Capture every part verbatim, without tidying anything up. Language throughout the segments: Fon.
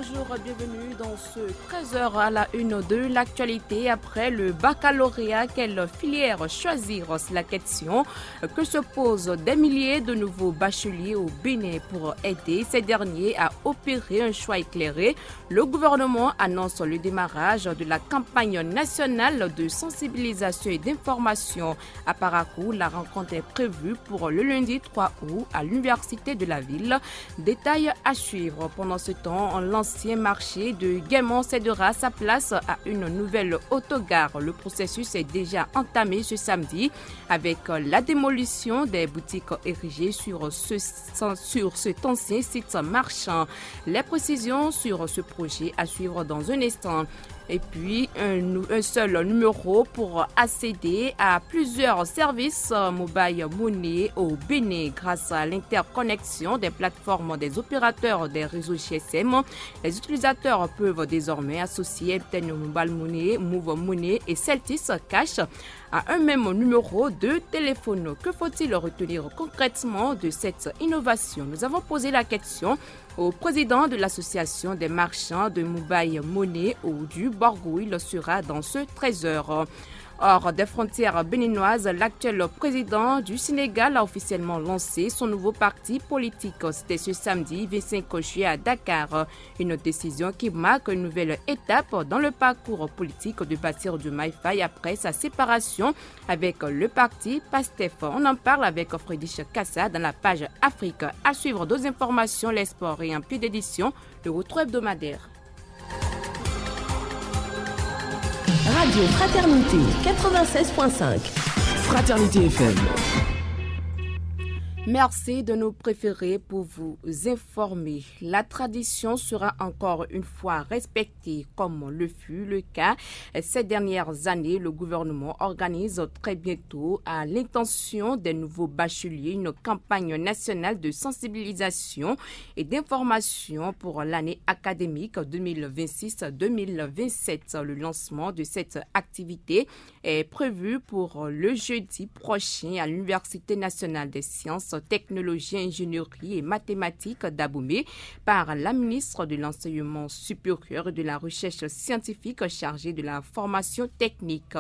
Bonjour, bienvenue dans ce treize heures à la une de l'actualité. Après le baccalauréat, quelle filière choisir ? C'est la question que se posent des milliers de nouveaux bacheliers au Bénin. Pour aider ces derniers à opérer un choix éclairé, le gouvernement annonce le démarrage de la campagne nationale de sensibilisation et d'information. À Parakou, la rencontre est prévue pour le lundi trois août à l'université de la ville. Détail à suivre. Pendant ce temps, l'ancien marché de Guémont cédera sa place à une nouvelle autogare. Le processus est déjà entamé ce samedi avec la démolition des boutiques érigées sur ce, sur cet ancien site marchand. Les précisions sur ce projet à suivre dans un instant. Et puis, un, nou- un seul numéro pour accéder à plusieurs services, euh, Mobile Money au Bénin. Grâce à l'interconnexion des plateformes des opérateurs des réseaux G S M, les utilisateurs peuvent désormais associer M T N Mobile Money, Moov Money et Celtis Cash à un même numéro de téléphone. Que faut-il retenir concrètement de cette innovation ? Nous avons posé la question au président de l'association des marchands de Mobile Money, Audu Borgouille, sera dans ce treize heures. Hors des frontières béninoises, l'actuel président du Sénégal a officiellement lancé son nouveau parti politique. C'était ce samedi vingt-cinq juillet à Dakar. Une décision qui marque une nouvelle étape dans le parcours politique de Bassirou Diomaye Faye après sa séparation avec le parti PASTEF. On en parle avec Friedrich Kassa dans la page Afrique. À suivre d'autres informations, les sports et un pied d'édition, le retour hebdomadaire. Radio Fraternité quatre-vingt-seize point cinq. Fraternité F M. Merci de nous préférer pour vous informer. La tradition sera encore une fois respectée comme le fut le cas ces dernières années. Le gouvernement organise très bientôt, à l'intention des nouveaux bacheliers, une campagne nationale de sensibilisation et d'information pour l'année académique deux mille vingt-six deux mille vingt-sept. Le lancement de cette activité est prévu pour le jeudi prochain à l'Université nationale des sciences, technologies, ingénierie et mathématiques d'Abomey par la ministre de l'Enseignement supérieur et de la Recherche scientifique chargée de la formation technique.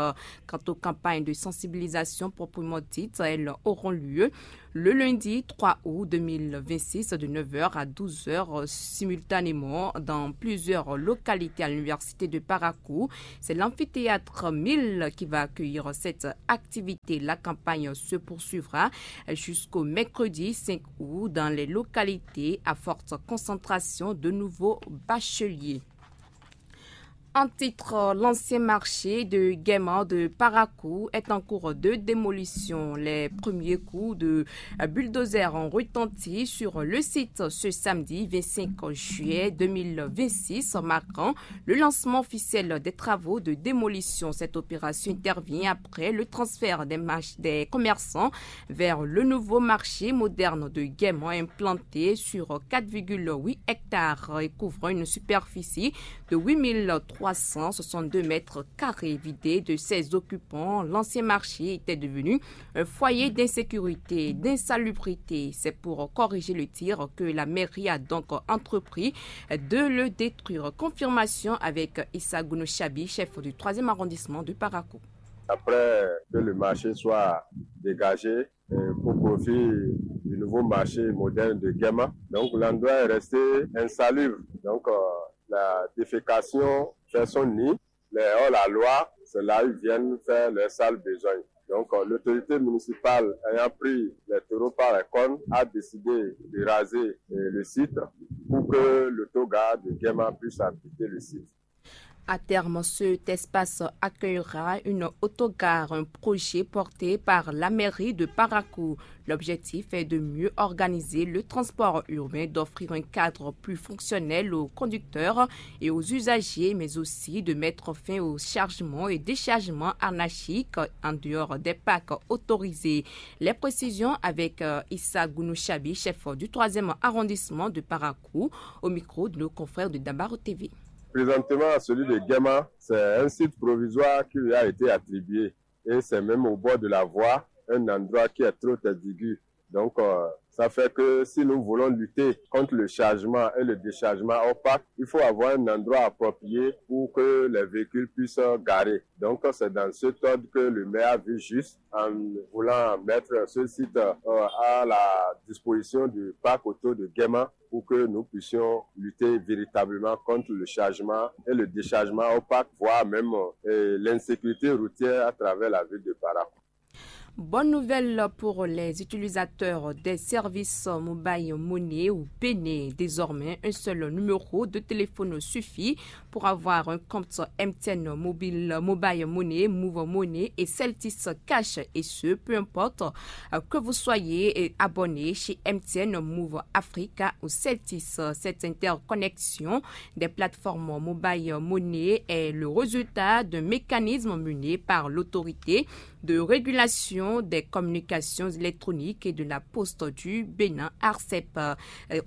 Quant aux campagnes de sensibilisation proprement dites, elles auront lieu le lundi trois août deux mille vingt-six de neuf heures à douze heures simultanément dans plusieurs localités à l'université de Parakou. C'est l'amphithéâtre mille qui va accueillir cette activité. La campagne se poursuivra jusqu'au mercredi cinq août dans les localités à forte concentration de nouveaux bacheliers. En titre, l'ancien marché de Guémont de Parakou est en cours de démolition. Les premiers coups de bulldozer ont retenti sur le site ce samedi vingt-cinq juillet deux mille vingt-six, marquant le lancement officiel des travaux de démolition. Cette opération intervient après le transfert des, mach- des commerçants vers le nouveau marché moderne de Guémont, implanté sur quatre virgule huit hectares et couvrant une superficie de huit mille trois cent soixante-deux mètres carrés. Vidé de ses occupants, l'ancien marché était devenu un foyer d'insécurité, d'insalubrité. C'est pour corriger le tir que la mairie a donc entrepris de le détruire. Confirmation avec Issa Gounou Chabi, chef du troisième arrondissement de Parakou. Après que le marché soit dégagé, euh, pour profit du nouveau marché moderne de Guéma. Donc l'endroit est resté insalubre. Donc, euh, la défécation fait son nid. Les hors-la-loi, c'est là ils viennent faire leurs sales besoins. Donc, euh, l'autorité municipale ayant pris les taureaux par les cornes a décidé de raser, euh, le site pour que l'autogar de Guéma puisse abriter le site. À terme, cet espace accueillera une autogare, un projet porté par la mairie de Parakou. L'objectif est de mieux organiser le transport urbain, d'offrir un cadre plus fonctionnel aux conducteurs et aux usagers, mais aussi de mettre fin au chargement et déchargement anarchique en dehors des parcs autorisés. Les précisions avec, euh, Issa Gounouchabi, chef du troisième arrondissement de Parakou, au micro de nos confrères de Dabaro T V. Présentement, celui de Guéma, c'est un site provisoire qui lui a été attribué. Et c'est même au bord de la voie, un endroit qui est trop aigu. Donc, euh, Ça fait que si nous voulons lutter contre le chargement et le déchargement opaque, il faut avoir un endroit approprié pour que les véhicules puissent garer. Donc, c'est dans cet ordre que le maire a vu juste en voulant mettre ce site euh, à la disposition du parc auto de Guéma pour que nous puissions lutter véritablement contre le chargement et le déchargement opaque, voire même euh, l'insécurité routière à travers la ville de Parakou. Bonne nouvelle pour les utilisateurs des services Mobile Money au Bénin. Désormais, un seul numéro de téléphone suffit pour avoir un compte M T N Mobile, Mobile Money, Move Money et Celtis Cash, et ce, peu importe euh, que vous soyez euh, abonné chez M T N, Move Africa ou Celtis. Cette interconnexion des plateformes Mobile Money est le résultat d'un mécanisme mené par l'autorité de régulation des communications électroniques et de la poste du Bénin, ARCEP. Euh,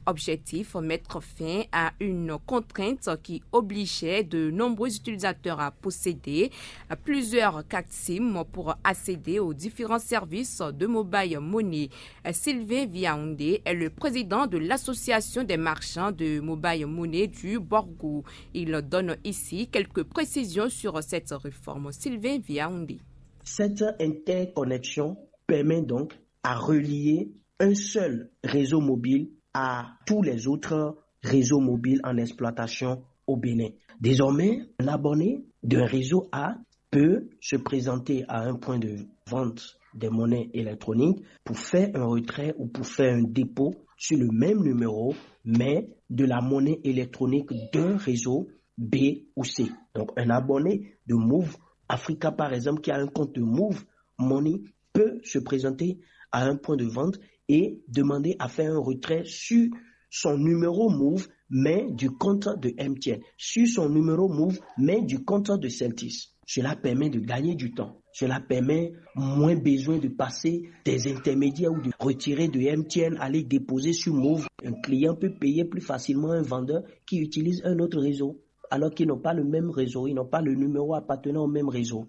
Objectif, mettre fin à une contrainte qui obligeait de nombreux utilisateurs à posséder euh, plusieurs cartes SIM pour accéder aux différents services de Mobile Money. Euh, Sylvain Viaoundé est le président de l'association des marchands de Mobile Money du Borgo. Il donne ici quelques précisions sur cette réforme. Sylvain Viaoundé. Cette interconnexion permet donc à relier un seul réseau mobile à tous les autres réseaux mobiles en exploitation au Bénin. Désormais, un abonné d'un réseau A peut se présenter à un point de vente des monnaies électroniques pour faire un retrait ou pour faire un dépôt sur le même numéro, mais de la monnaie électronique d'un réseau B ou C. Donc un abonné de Move Africa, par exemple, qui a un compte de Move Money, peut se présenter à un point de vente et demander à faire un retrait sur son numéro Move, mais du compte de M T N, sur son numéro Move, mais du compte de Celtis. Cela permet de gagner du temps. Cela permet moins besoin de passer des intermédiaires ou de retirer de M T N, aller déposer sur Move. Un client peut payer plus facilement un vendeur qui utilise un autre réseau, alors qu'ils n'ont pas le même réseau, ils n'ont pas le numéro appartenant au même réseau.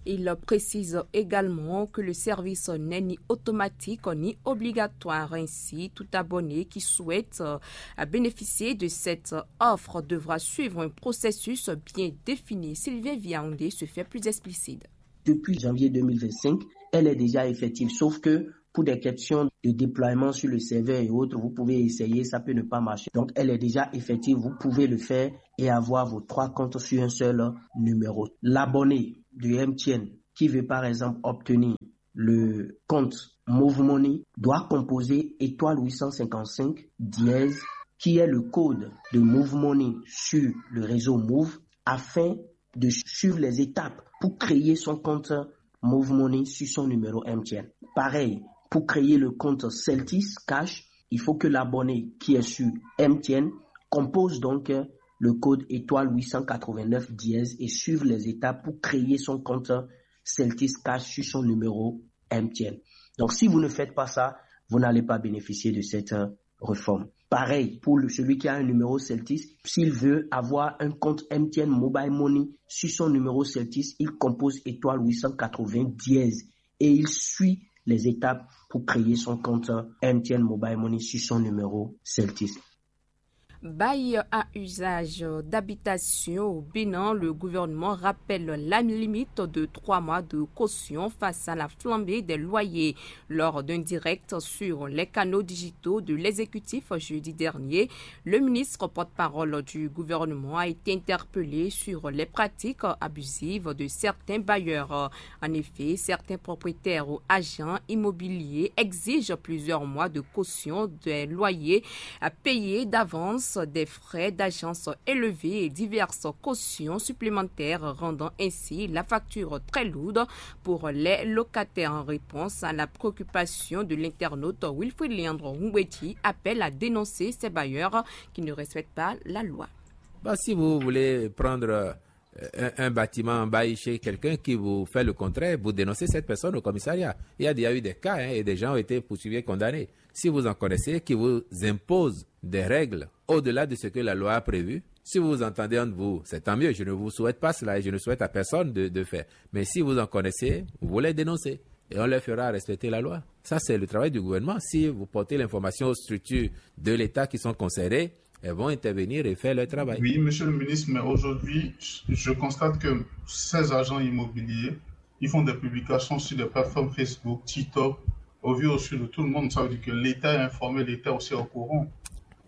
Il précise également que le service n'est ni automatique ni obligatoire. Ainsi, tout abonné qui souhaite euh, bénéficier de cette offre devra suivre un processus bien défini. Sylvain Viaoundé se fait plus explicite. Depuis janvier deux mille vingt-cinq, elle est déjà effective, sauf que pour des questions de déploiement sur le serveur et autres, vous pouvez essayer, ça peut ne pas marcher. Donc, elle est déjà effective, vous pouvez le faire et avoir vos trois comptes sur un seul numéro. L'abonné de M T N qui veut par exemple obtenir le compte Move Money doit composer étoile huit cent cinquante-cinq dièse, qui est le code de Move Money sur le réseau Move, afin de suivre les étapes pour créer son compte Move Money sur son numéro M T N. Pareil, pour créer le compte Celtis Cash, il faut que l'abonné qui est sur M T N compose donc le code étoile huit cent quatre-vingt-neuf dièse et suivre les étapes pour créer son compte Celtis Cash sur son numéro M T N. Donc si vous ne faites pas ça, vous n'allez pas bénéficier de cette réforme. Pareil, pour celui qui a un numéro Celtis, s'il veut avoir un compte M T N Mobile Money sur son numéro Celtis, il compose étoile huit cent quatre-vingts dièse et il suit les étapes pour créer son compte M T N Mobile Money sur son numéro Celtis. Bail à usage d'habitation au Bénin, le gouvernement rappelle la limite de trois mois de caution face à la flambée des loyers. Lors d'un direct sur les canaux digitaux de l'exécutif jeudi dernier, le ministre porte-parole du gouvernement a été interpellé sur les pratiques abusives de certains bailleurs. En effet, certains propriétaires ou agents immobiliers exigent plusieurs mois de caution des loyers à payer d'avance, des frais d'agence élevés et diverses cautions supplémentaires, rendant ainsi la facture très lourde pour les locataires. En réponse à la préoccupation de l'internaute, Wilfried Leandro Humbeti appelle à dénoncer ces bailleurs qui ne respectent pas la loi. Bah, si vous voulez prendre euh, un, un bâtiment en bail chez quelqu'un qui vous fait le contraire, vous dénoncez cette personne au commissariat. Il y a déjà eu des cas, hein, et des gens ont été poursuivis et condamnés. Si vous en connaissez, qui vous impose des règles au-delà de ce que la loi a prévu, si vous vous entendez entre vous, c'est tant mieux. Je ne vous souhaite pas cela et je ne souhaite à personne de, de faire. Mais si vous en connaissez, vous les dénoncez. et on leur fera respecter la loi. Ça, c'est le travail du gouvernement. Si vous portez l'information aux structures de l'État qui sont concernées, elles vont intervenir et faire leur travail. Oui, monsieur le ministre, mais aujourd'hui, je constate que ces agents immobiliers, ils font des publications sur des plateformes Facebook, TikTok, au vu au su de tout le monde. Ça veut dire que l'État est informé, l'État aussi est au courant.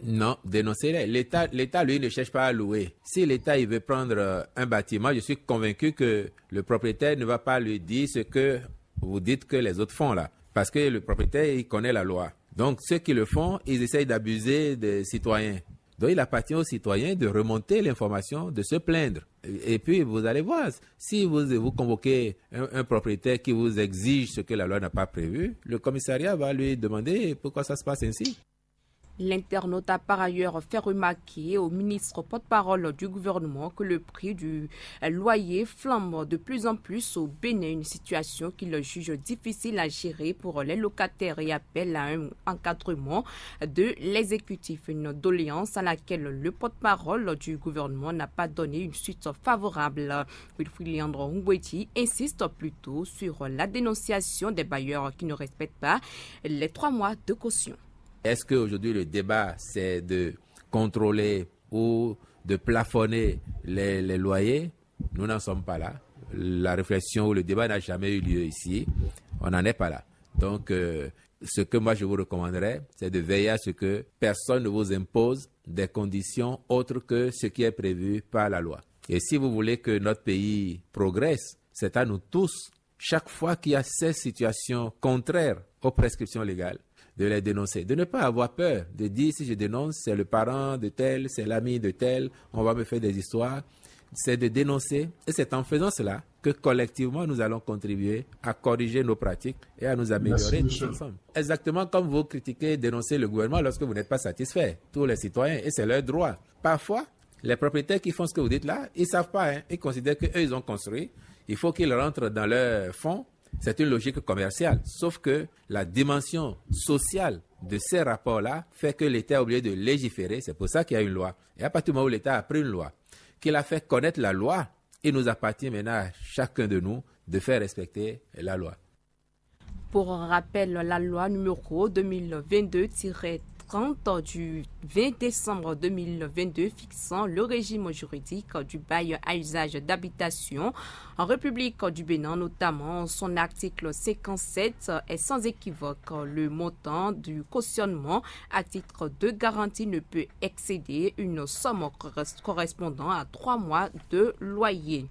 Non, dénoncez-les. L'État, l'État, lui, ne cherche pas à louer. Si l'État, il veut prendre euh, un bâtiment, je suis convaincu que le propriétaire ne va pas lui dire ce que vous dites que les autres font là. Parce que le propriétaire, il connaît la loi. Donc, ceux qui le font, ils essayent d'abuser des citoyens. Donc, il appartient aux citoyens de remonter l'information, de se plaindre. Et puis, vous allez voir, si vous, vous convoquez un, un propriétaire qui vous exige ce que la loi n'a pas prévu, le commissariat va lui demander pourquoi ça se passe ainsi. L'internaute a par ailleurs fait remarquer au ministre porte-parole du gouvernement que le prix du loyer flambe de plus en plus au Bénin, une situation qu'il juge difficile à gérer pour les locataires et appelle à un encadrement de l'exécutif, une doléance à laquelle le porte-parole du gouvernement n'a pas donné une suite favorable. Wilfried Leandro Ngweti insiste plutôt sur la dénonciation des bailleurs qui ne respectent pas les trois mois de caution. Est-ce qu'aujourd'hui le débat, c'est de contrôler ou de plafonner les, les loyers ? Nous n'en sommes pas là. La réflexion ou le débat n'a jamais eu lieu ici. On n'en est pas là. Donc, euh, ce que moi je vous recommanderais, c'est de veiller à ce que personne ne vous impose des conditions autres que ce qui est prévu par la loi. Et si vous voulez que notre pays progresse, c'est à nous tous, chaque fois qu'il y a ces situations contraires aux prescriptions légales, de les dénoncer, de ne pas avoir peur de dire si je dénonce, c'est le parent de tel, c'est l'ami de tel, on va me faire des histoires. C'est de dénoncer et c'est en faisant cela que collectivement nous allons contribuer à corriger nos pratiques et à nous améliorer tous ensemble. Exactement comme vous critiquez, dénoncez le gouvernement lorsque vous n'êtes pas satisfait, tous les citoyens, et c'est leur droit. Parfois, les propriétaires qui font ce que vous dites là, ils ne savent pas, hein. Ils considèrent qu'eux, ils ont construit. Il faut qu'ils rentrent dans leur fonds. C'est une logique commerciale. Sauf que la dimension sociale de ces rapports-là fait que l'État est obligé de légiférer. C'est pour ça qu'il y a une loi. Et à partir du moment où l'État a pris une loi, qu'il a fait connaître la loi, il nous appartient maintenant à chacun de nous de faire respecter la loi. Pour rappel, la loi numéro deux mille vingt-deux tiret trente du vingt décembre deux mille vingt-deux fixant le régime juridique du bail à usage d'habitation en République du Bénin, notamment son article cinquante-sept, est sans équivoque. Le montant du cautionnement à titre de garantie ne peut excéder une somme corres-, correspondant à trois mois de loyer.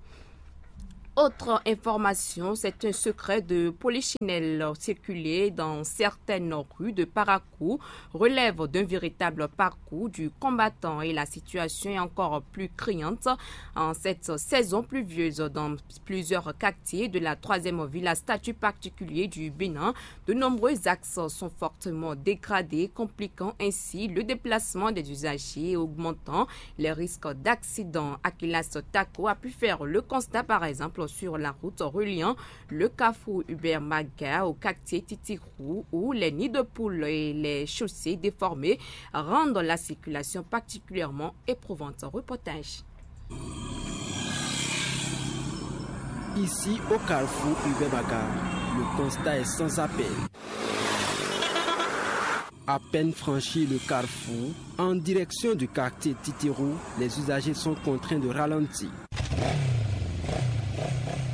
Autre information, c'est un secret de polichinelle circulé dans certaines rues de Parakou relève d'un véritable parcours du combattant et la situation est encore plus criante en cette saison pluvieuse dans plusieurs quartiers de la troisième ville à statut particulier du Bénin. De nombreux axes sont fortement dégradés, compliquant ainsi le déplacement des usagers et augmentant les risques d'accident. Akilas Tako a pu faire le constat, par exemple, sur la route reliant le carrefour Hubert Maga au quartier Titirou, où les nids de poules et les chaussées déformées rendent la circulation particulièrement éprouvante. Reportage. Ici, au carrefour Hubert Maga, le constat est sans appel. À peine franchi le carrefour, en direction du quartier Titérou, les usagers sont contraints de ralentir.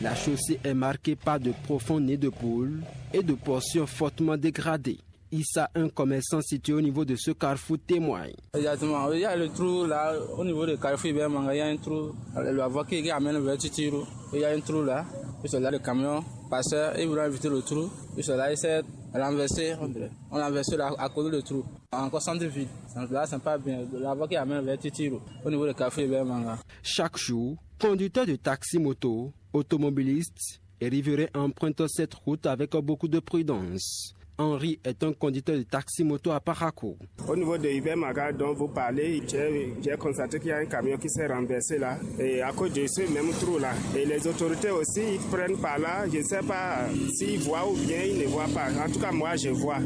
La chaussée est marquée par de profonds nids de poules et de portions fortement dégradées. Issa, un commerçant situé au niveau de ce carrefour, témoigne. Exactement. Il y a le trou là, au niveau de carrefour Hubert Maga, il y a un trou. La voie qui amène vers Titiro, il y a un trou là. Puis c'est là le camion passeur, il voulait éviter le trou. Puis c'est là, il s'est renversé, on dirait. On a renversé là, à côté du trou. Encore centre ville. Là, c'est pas bien. La voie qui amène vers Titiro, au niveau de carrefour Hubert Maga. Chaque jour, conducteur de taxi-moto, automobiliste et riverain empruntent cette route avec beaucoup de prudence. Henri est un conducteur de taxi-moto à Parakou. Au niveau de Hubert Maga dont vous parlez, j'ai j'ai constaté qu'il y a un camion qui s'est renversé là. Et à cause de ce même trou-là. Et les autorités aussi, ils prennent par là. Je ne sais pas s'ils voient ou bien ils ne voient pas. En tout cas, moi, je vois.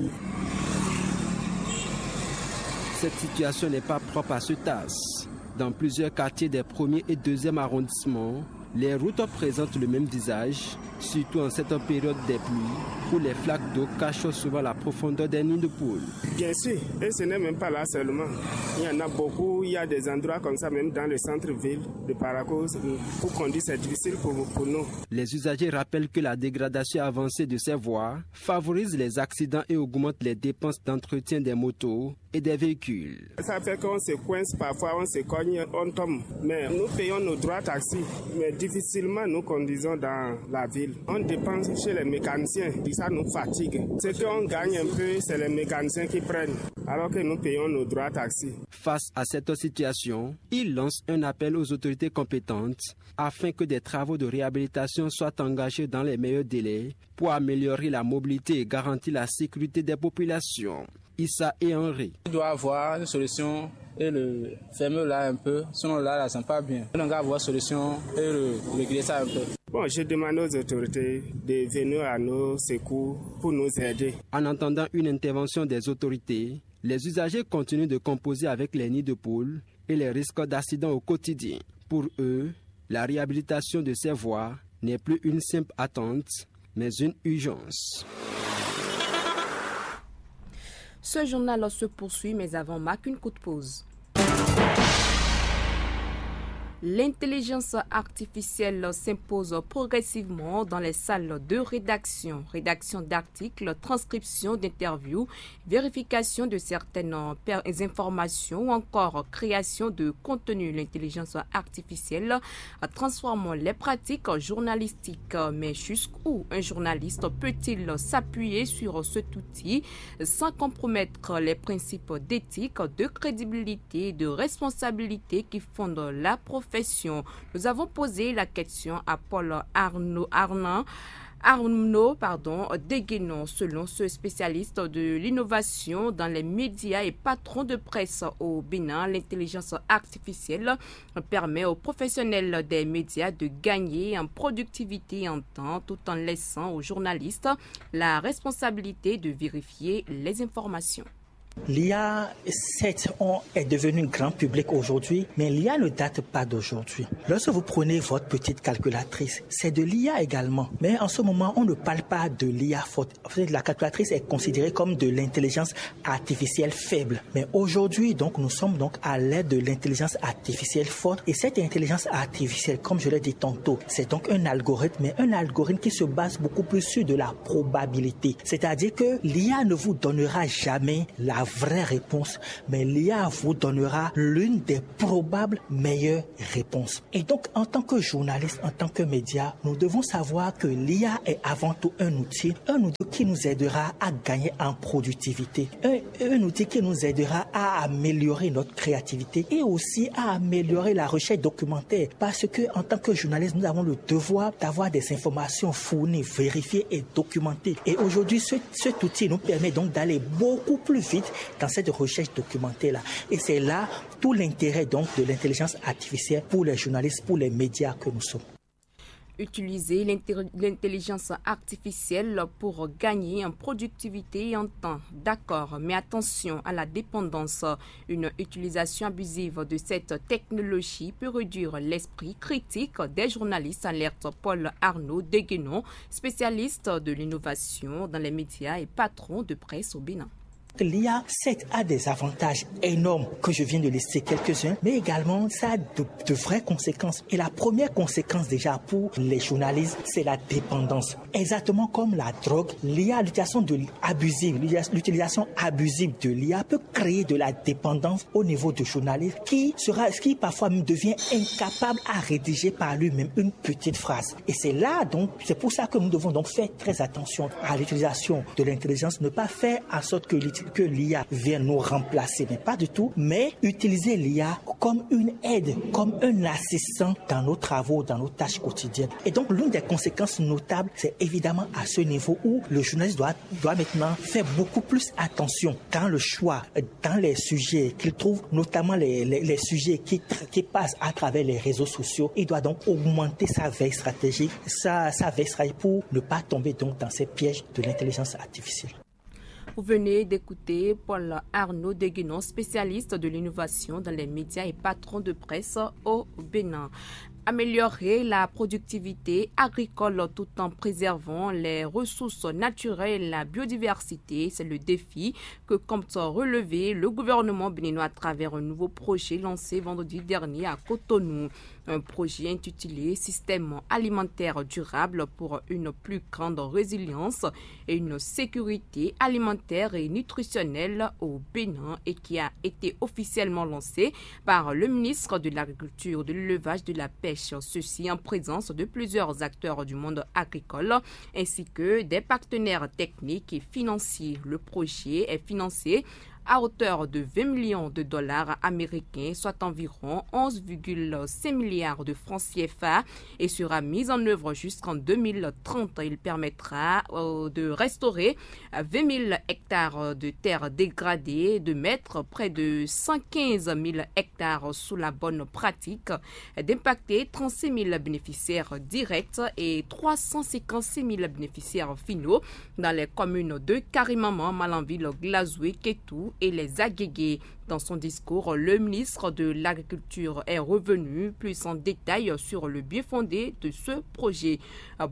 Cette situation n'est pas propre à ce tasse. Dans plusieurs quartiers des premiers et deuxièmes arrondissements, les routes présentent le même visage, surtout en cette période des pluies, où les flaques d'eau cachent souvent la profondeur des nids de poule. Bien sûr, et ce n'est même pas là seulement. Il y en a beaucoup, il y a des endroits comme ça, même dans le centre-ville de Parakou, pour conduire, c'est difficile pour, pour nous. Les usagers rappellent que la dégradation avancée de ces voies favorise les accidents et augmente les dépenses d'entretien des motos et des véhicules. Ça fait qu'on se coince parfois, on se cogne, on tombe. Mais nous payons nos droits taxis, mais difficilement nous conduisons dans la ville. On dépense chez les mécaniciens, et ça nous fatigue. Ce qu'on gagne un peu, c'est les mécaniciens qui prennent, alors que nous payons nos droits taxis. Face à cette situation, il lance un appel aux autorités compétentes afin que des travaux de réhabilitation soient engagés dans les meilleurs délais pour améliorer la mobilité et garantir la sécurité des populations. Issa et Henri. Il doit avoir une solution et le fermer là un peu, sinon là, là, ça ne pas bien. On doit avoir solution et le, régler ça un peu. Bon, je demande aux autorités de venir à nos secours pour nous aider. En attendant une intervention des autorités, les usagers continuent de composer avec les nids de poule et les risques d'accident au quotidien. Pour eux, la réhabilitation de ces voies n'est plus une simple attente, mais une urgence. Ce journal se poursuit, mais avant, marque une courte pause. L'intelligence artificielle s'impose progressivement dans les salles de rédaction. Rédaction d'articles, transcription d'interviews, vérification de certaines per- informations ou encore création de contenu. L'intelligence artificielle transforme les pratiques journalistiques. Mais jusqu'où un journaliste peut-il s'appuyer sur cet outil sans compromettre les principes d'éthique, de crédibilité, de responsabilité qui fondent la profession? Nous avons posé la question à Paul Arnaud, Arnaud, Arnaud, pardon, Deguénon. Selon ce spécialiste de l'innovation dans les médias et patron de presse au Bénin, l'intelligence artificielle permet aux professionnels des médias de gagner en productivité et en temps, tout en laissant aux journalistes la responsabilité de vérifier les informations. L'I A, certes, on est devenu grand public aujourd'hui, mais l'I A ne date pas d'aujourd'hui. Lorsque vous prenez votre petite calculatrice, c'est de l'I A également. Mais en ce moment, on ne parle pas de l'I A forte. En fait, la calculatrice est considérée comme de l'intelligence artificielle faible. Mais aujourd'hui, donc, nous sommes donc à l'ère de l'intelligence artificielle forte. Et cette intelligence artificielle, comme je l'ai dit tantôt, c'est donc un algorithme, mais un algorithme qui se base beaucoup plus sur de la probabilité. C'est-à-dire que l'I A ne vous donnera jamais la vraie réponse, mais l'I A vous donnera l'une des probables meilleures réponses. Et donc, en tant que journaliste, en tant que média, nous devons savoir que l'I A est avant tout un outil, un outil qui nous aidera à gagner en productivité, un, un outil qui nous aidera à améliorer notre créativité et aussi à améliorer la recherche documentaire. Parce que, en tant que journaliste, nous avons le devoir d'avoir des informations fournies, vérifiées et documentées. Et aujourd'hui, ce, cet outil nous permet donc d'aller beaucoup plus vite dans cette recherche documentaire-là. Et c'est là tout l'intérêt donc de l'intelligence artificielle pour les journalistes, pour les médias que nous sommes. Utiliser l'inté- l'intelligence artificielle pour gagner en productivité et en temps. D'accord, mais attention à la dépendance. Une utilisation abusive de cette technologie peut réduire l'esprit critique des journalistes, alerte Paul Arnaud Deguénon, spécialiste de l'innovation dans les médias et patron de presse au Bénin. L'I A, certes, a des avantages énormes que je viens de lister quelques-uns, mais également ça a de, de vraies conséquences. Et la première conséquence déjà pour les journalistes, c'est la dépendance. Exactement comme la drogue, l'I A, l'utilisation de abusive, l'utilisation abusive de l'I A peut créer de la dépendance au niveau du journaliste qui sera, qui parfois même devient incapable à rédiger par lui-même une petite phrase. Et c'est là donc, c'est pour ça que nous devons donc faire très attention à l'utilisation de l'intelligence, ne pas faire en sorte que l'IA vienne nous remplacer, mais pas du tout, mais utiliser l'IA comme une aide, comme un assistant dans nos travaux, dans nos tâches quotidiennes. Et donc, l'une des conséquences notables, c'est évidemment à ce niveau où le journaliste doit, doit maintenant faire beaucoup plus attention dans le choix, dans les sujets qu'il trouve, notamment les, les, les sujets qui, qui passent à travers les réseaux sociaux. Il doit donc augmenter sa veille stratégique, sa, sa veille stratégique pour ne pas tomber donc dans ces pièges de l'intelligence artificielle. Vous venez d'écouter Paul Arnaud Deguénon, spécialiste de l'innovation dans les médias et patron de presse au Bénin. Améliorer la productivité agricole tout en préservant les ressources naturelles, la biodiversité, c'est le défi que compte relever le gouvernement béninois à travers un nouveau projet lancé vendredi dernier à Cotonou. Un projet intitulé Système alimentaire durable pour une plus grande résilience et une sécurité alimentaire et nutritionnelle au Bénin et qui a été officiellement lancé par le ministre de l'Agriculture, de l'Élevage, de la Pêche, ceci en présence de plusieurs acteurs du monde agricole ainsi que des partenaires techniques et financiers. Le projet est financé à hauteur de vingt millions de dollars américains, soit environ onze virgule cinq milliards de francs C F A, et sera mis en œuvre jusqu'en deux mille trente. Il permettra, euh, de restaurer, euh, vingt mille hectares de terres dégradées, de mettre près de cent quinze mille hectares sous la bonne pratique, d'impacter trente-six mille bénéficiaires directs et trois cent cinquante-six mille bénéficiaires finaux dans les communes de Karimaman, Malanville, Glazoué, Kétou et les Agégués. Dans son discours, le ministre de l'Agriculture est revenu plus en détail sur le bien fondé de ce projet.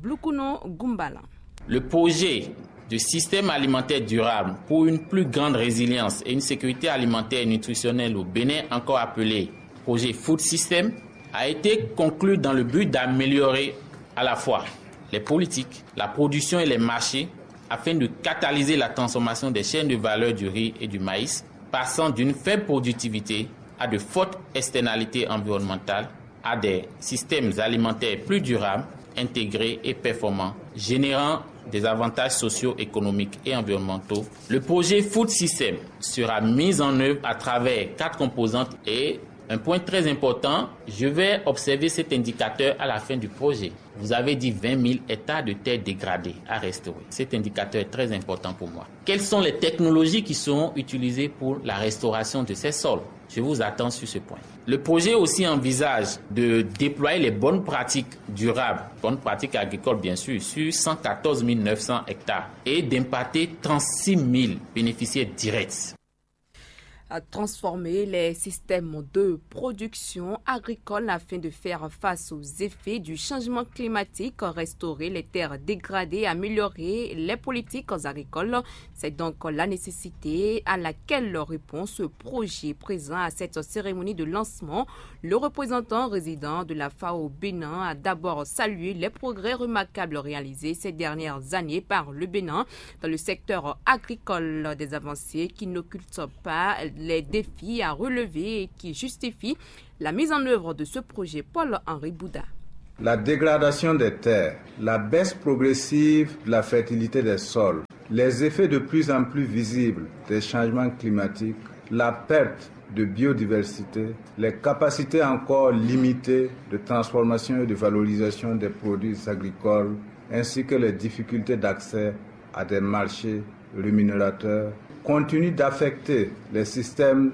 Blukuno Gumbala. Le projet de système alimentaire durable pour une plus grande résilience et une sécurité alimentaire et nutritionnelle au Bénin, encore appelé projet Food System, a été conclu dans le but d'améliorer à la fois les politiques, la production et les marchés afin de catalyser la transformation des chaînes de valeur du riz et du maïs, passant d'une faible productivité à de fortes externalités environnementales, à des systèmes alimentaires plus durables, intégrés et performants, générant des avantages socio-économiques et environnementaux. Le projet Food System sera mis en œuvre à travers quatre composantes et un point très important, je vais observer cet indicateur à la fin du projet. Vous avez dit vingt mille hectares de terres dégradées à restaurer. Cet indicateur est très important pour moi. Quelles sont les technologies qui seront utilisées pour la restauration de ces sols ? Je vous attends sur ce point. Le projet aussi envisage de déployer les bonnes pratiques durables, bonnes pratiques agricoles bien sûr, sur cent quatorze mille neuf cents hectares et d'impacter trente-six mille bénéficiaires directs. À transformer les systèmes de production agricole afin de faire face aux effets du changement climatique, restaurer les terres dégradées, améliorer les politiques agricoles. C'est donc la nécessité à laquelle répond ce projet. Présent à cette cérémonie de lancement, le représentant résident de la FAO au Bénin a d'abord salué les progrès remarquables réalisés ces dernières années par le Bénin dans le secteur agricole, des avancées qui n'occultent pas les défis à relever et qui justifient la mise en œuvre de ce projet. Paul-Henri Bouda. La dégradation des terres, la baisse progressive de la fertilité des sols, les effets de plus en plus visibles des changements climatiques, la perte de biodiversité, les capacités encore limitées de transformation et de valorisation des produits agricoles, ainsi que les difficultés d'accès à des marchés rémunérateurs, continuent d'affecter les systèmes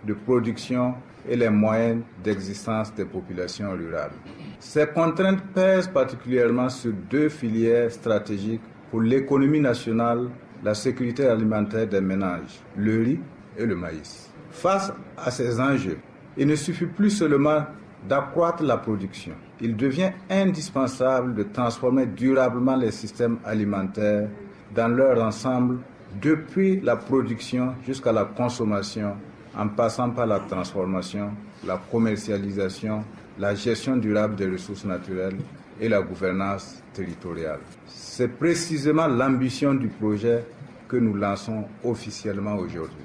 de production et les moyens d'existence des populations rurales. Ces contraintes pèsent particulièrement sur deux filières stratégiques pour l'économie nationale, la sécurité alimentaire des ménages, le riz et le maïs. Face à ces enjeux, il ne suffit plus seulement d'accroître la production. Il devient indispensable de transformer durablement les systèmes alimentaires dans leur ensemble, depuis la production jusqu'à la consommation, en passant par la transformation, la commercialisation, la gestion durable des ressources naturelles et la gouvernance territoriale. C'est précisément l'ambition du projet que nous lançons officiellement aujourd'hui.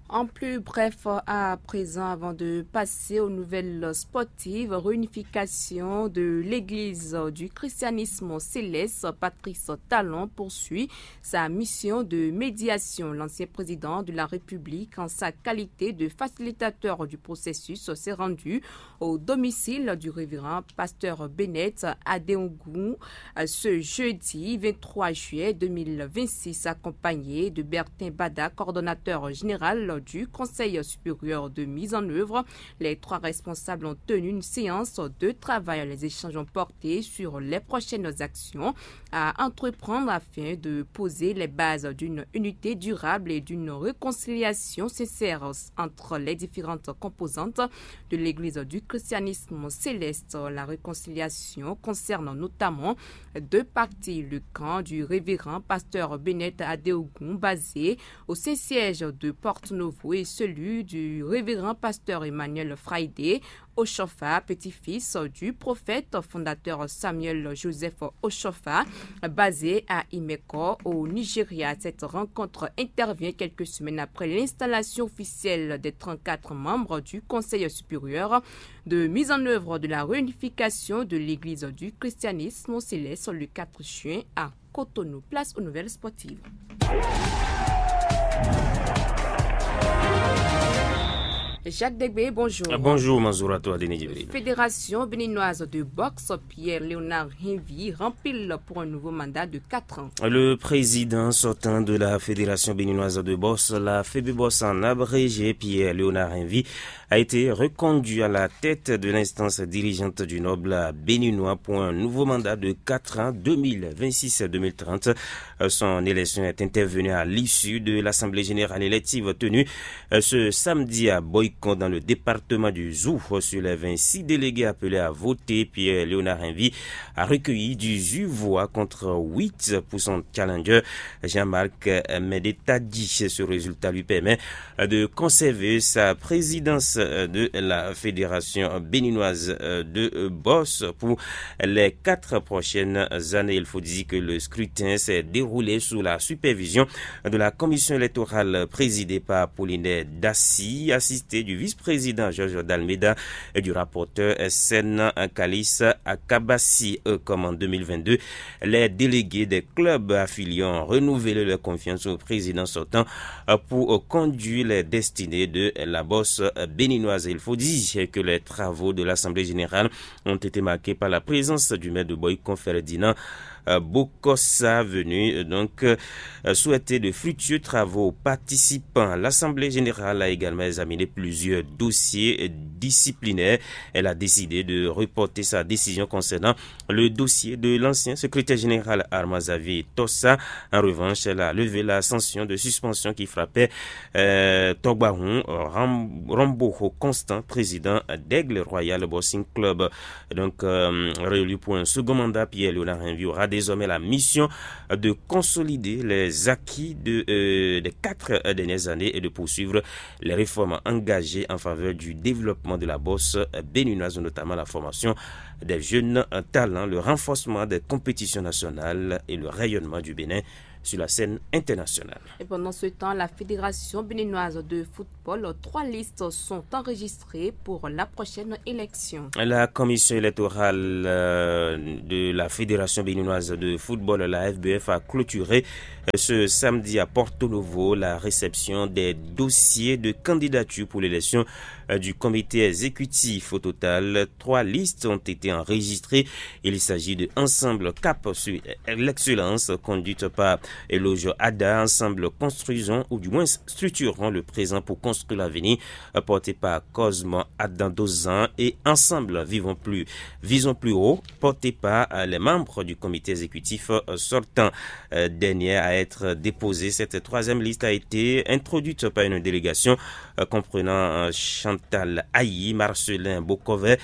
En plus bref, à présent, avant de passer aux nouvelles sportives, réunification de l'église du christianisme céleste, Patrice Talon poursuit sa mission de médiation. L'ancien président de la République, en sa qualité de facilitateur du processus, s'est rendu au domicile du révérend pasteur Bennett Adeogun, euh, ce jeudi vingt-trois juillet deux mille vingt-six, accompagné de Bertin Bada, coordonnateur général du Conseil supérieur de mise en œuvre. Les trois responsables ont tenu une séance de travail. Les échanges ont porté sur les prochaines actions à entreprendre afin de poser les bases d'une unité durable et d'une réconciliation sincère entre les différentes composantes de l'Église du christianisme céleste. La réconciliation concerne notamment deux parties, le camp du révérend pasteur Bennett Adeogun, basé au Saint-Siège de Porto Novo, et celui du révérend pasteur Emmanuel Friday Oshofa, petit-fils du prophète fondateur Samuel Joseph Oshofa, basé à Imeko, au Nigeria. Cette rencontre intervient quelques semaines après l'installation officielle des trente-quatre membres du Conseil supérieur de mise en œuvre de la réunification de l'Église du christianisme céleste le quatre juin à Cotonou. Place aux nouvelles sportives. Jacques Degbé, bonjour. Bonjour, Manzouratou Adéné Djibril. Fédération béninoise de boxe, Pierre-Léonard Henvi, rempile pour un nouveau mandat de quatre ans. Le président sortant de la Fédération béninoise de boxe, la FEBBOS en abrégé, Pierre-Léonard Henvi, a été reconduit à la tête de l'instance dirigeante du Noble béninois pour un nouveau mandat de quatre ans, deux mille vingt-six à deux mille trente. Euh, Son élection est intervenue à l'issue de l'Assemblée générale élective tenue euh, ce samedi à Boycon, dans le département du Zou. Sur les vingt-six délégués appelés à voter, Pierre-Léonard Henvi a recueilli dix-huit voix contre huit pour son challenger, Jean-Marc Mendetadji. Ce résultat lui permet euh, de conserver sa présidence euh, de la Fédération béninoise euh, de euh, boxe pour les quatre prochaines années. Il faut dire que le scrutin s'est déroulé sous la supervision de la commission électorale présidée par Apollinaire Dassy, assistée du vice-président Georges Dalmeda et du rapporteur Sen Kalis Akabassi. Euh, Comme en deux mille vingt-deux, les délégués des clubs affiliés ont renouvelé leur confiance au président sortant euh, pour euh, conduire les destinées de la boxe euh, béninoise. Il faut dire que les travaux de l'Assemblée générale ont été marqués par la présence du maire de Boycon, Ferdinand euh, Bokossa, venu euh, donc euh, souhaiter de fructueux travaux aux participants. L'Assemblée générale a également examiné plusieurs dossiers euh, disciplinaires. Elle a décidé de reporter sa décision concernant le dossier de l'ancien secrétaire général Armand Xavier Tossa. En revanche, elle a levé la sanction de suspension qui frappait euh, Togbahun Ram- Ramboho Constant, président d'Aigle Royal Boxing Club. Donc, euh, réélu pour un second mandat, Pierre-Léonard Henvi aura désormais la mission de consolider les acquis de, euh, des quatre euh, dernières années et de poursuivre les réformes engagées en faveur du développement de la boxe euh, béninoise, notamment la formation des jeunes euh, talents, le renforcement des compétitions nationales et le rayonnement du Bénin sur la scène internationale. Et pendant ce temps, la Fédération béninoise de football, trois listes sont enregistrées pour la prochaine élection. La commission électorale euh, de la Fédération béninoise de football, la F B F, a clôturé euh, ce samedi à Porto Novo la réception des dossiers de candidature pour l'élection euh, du comité exécutif. Au total, trois listes ont été enregistrées. Il s'agit de Ensemble Cap sur l'excellence, conduite par Eloge Ada, Ensemble Construisons, ou du moins structurons le présent pour construire l'avenir, euh, porté par Cosmo Adandozan, et Ensemble Vivons plus, Visons plus haut, porté par euh, les membres du comité exécutif euh, sortant. Euh, Dernière à être déposée, cette troisième liste a été introduite par une délégation euh, comprenant euh, Chantal Ayi, Marcelin Bokovet,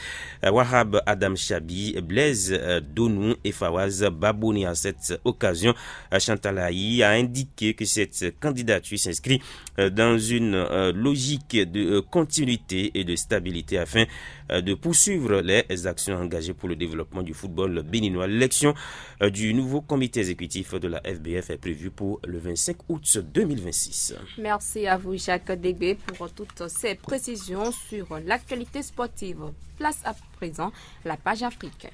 euh, Wahab Adam Chabi, Blaise euh, Donou et Fawaz Babouni. À cette occasion, euh, Chantal Ayi a indiqué que cette candidature s'inscrit euh, dans une euh, logique de euh, continuité et de stabilité afin euh, de poursuivre les actions engagées pour le développement du football béninois. L'élection euh, du nouveau comité exécutif de la F B F est prévue pour le vingt-cinq août deux mille vingt-six. Merci à vous, Jacques Degbé, pour toutes ces précisions sur l'actualité sportive. Place à présent à la page Afrique.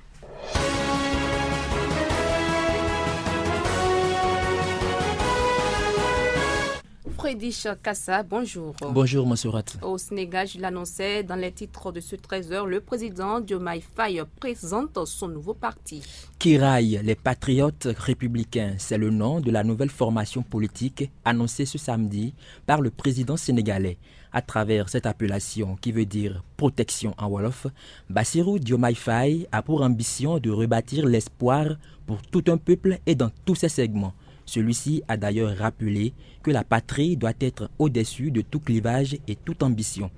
Prédiche Kassa, bonjour. Bonjour, Monserrat. Au Sénégal, je l'annonçais dans les titres de ce treize heures, le président Diomaye Faye présente son nouveau parti. Qui raille les patriotes républicains, c'est le nom de la nouvelle formation politique annoncée ce samedi par le président sénégalais. À travers cette appellation qui veut dire protection en Wolof, Bassirou Diomaye Faye a pour ambition de rebâtir l'espoir pour tout un peuple et dans tous ses segments. Celui-ci a d'ailleurs rappelé que la patrie doit être au-dessus de tout clivage et toute ambition.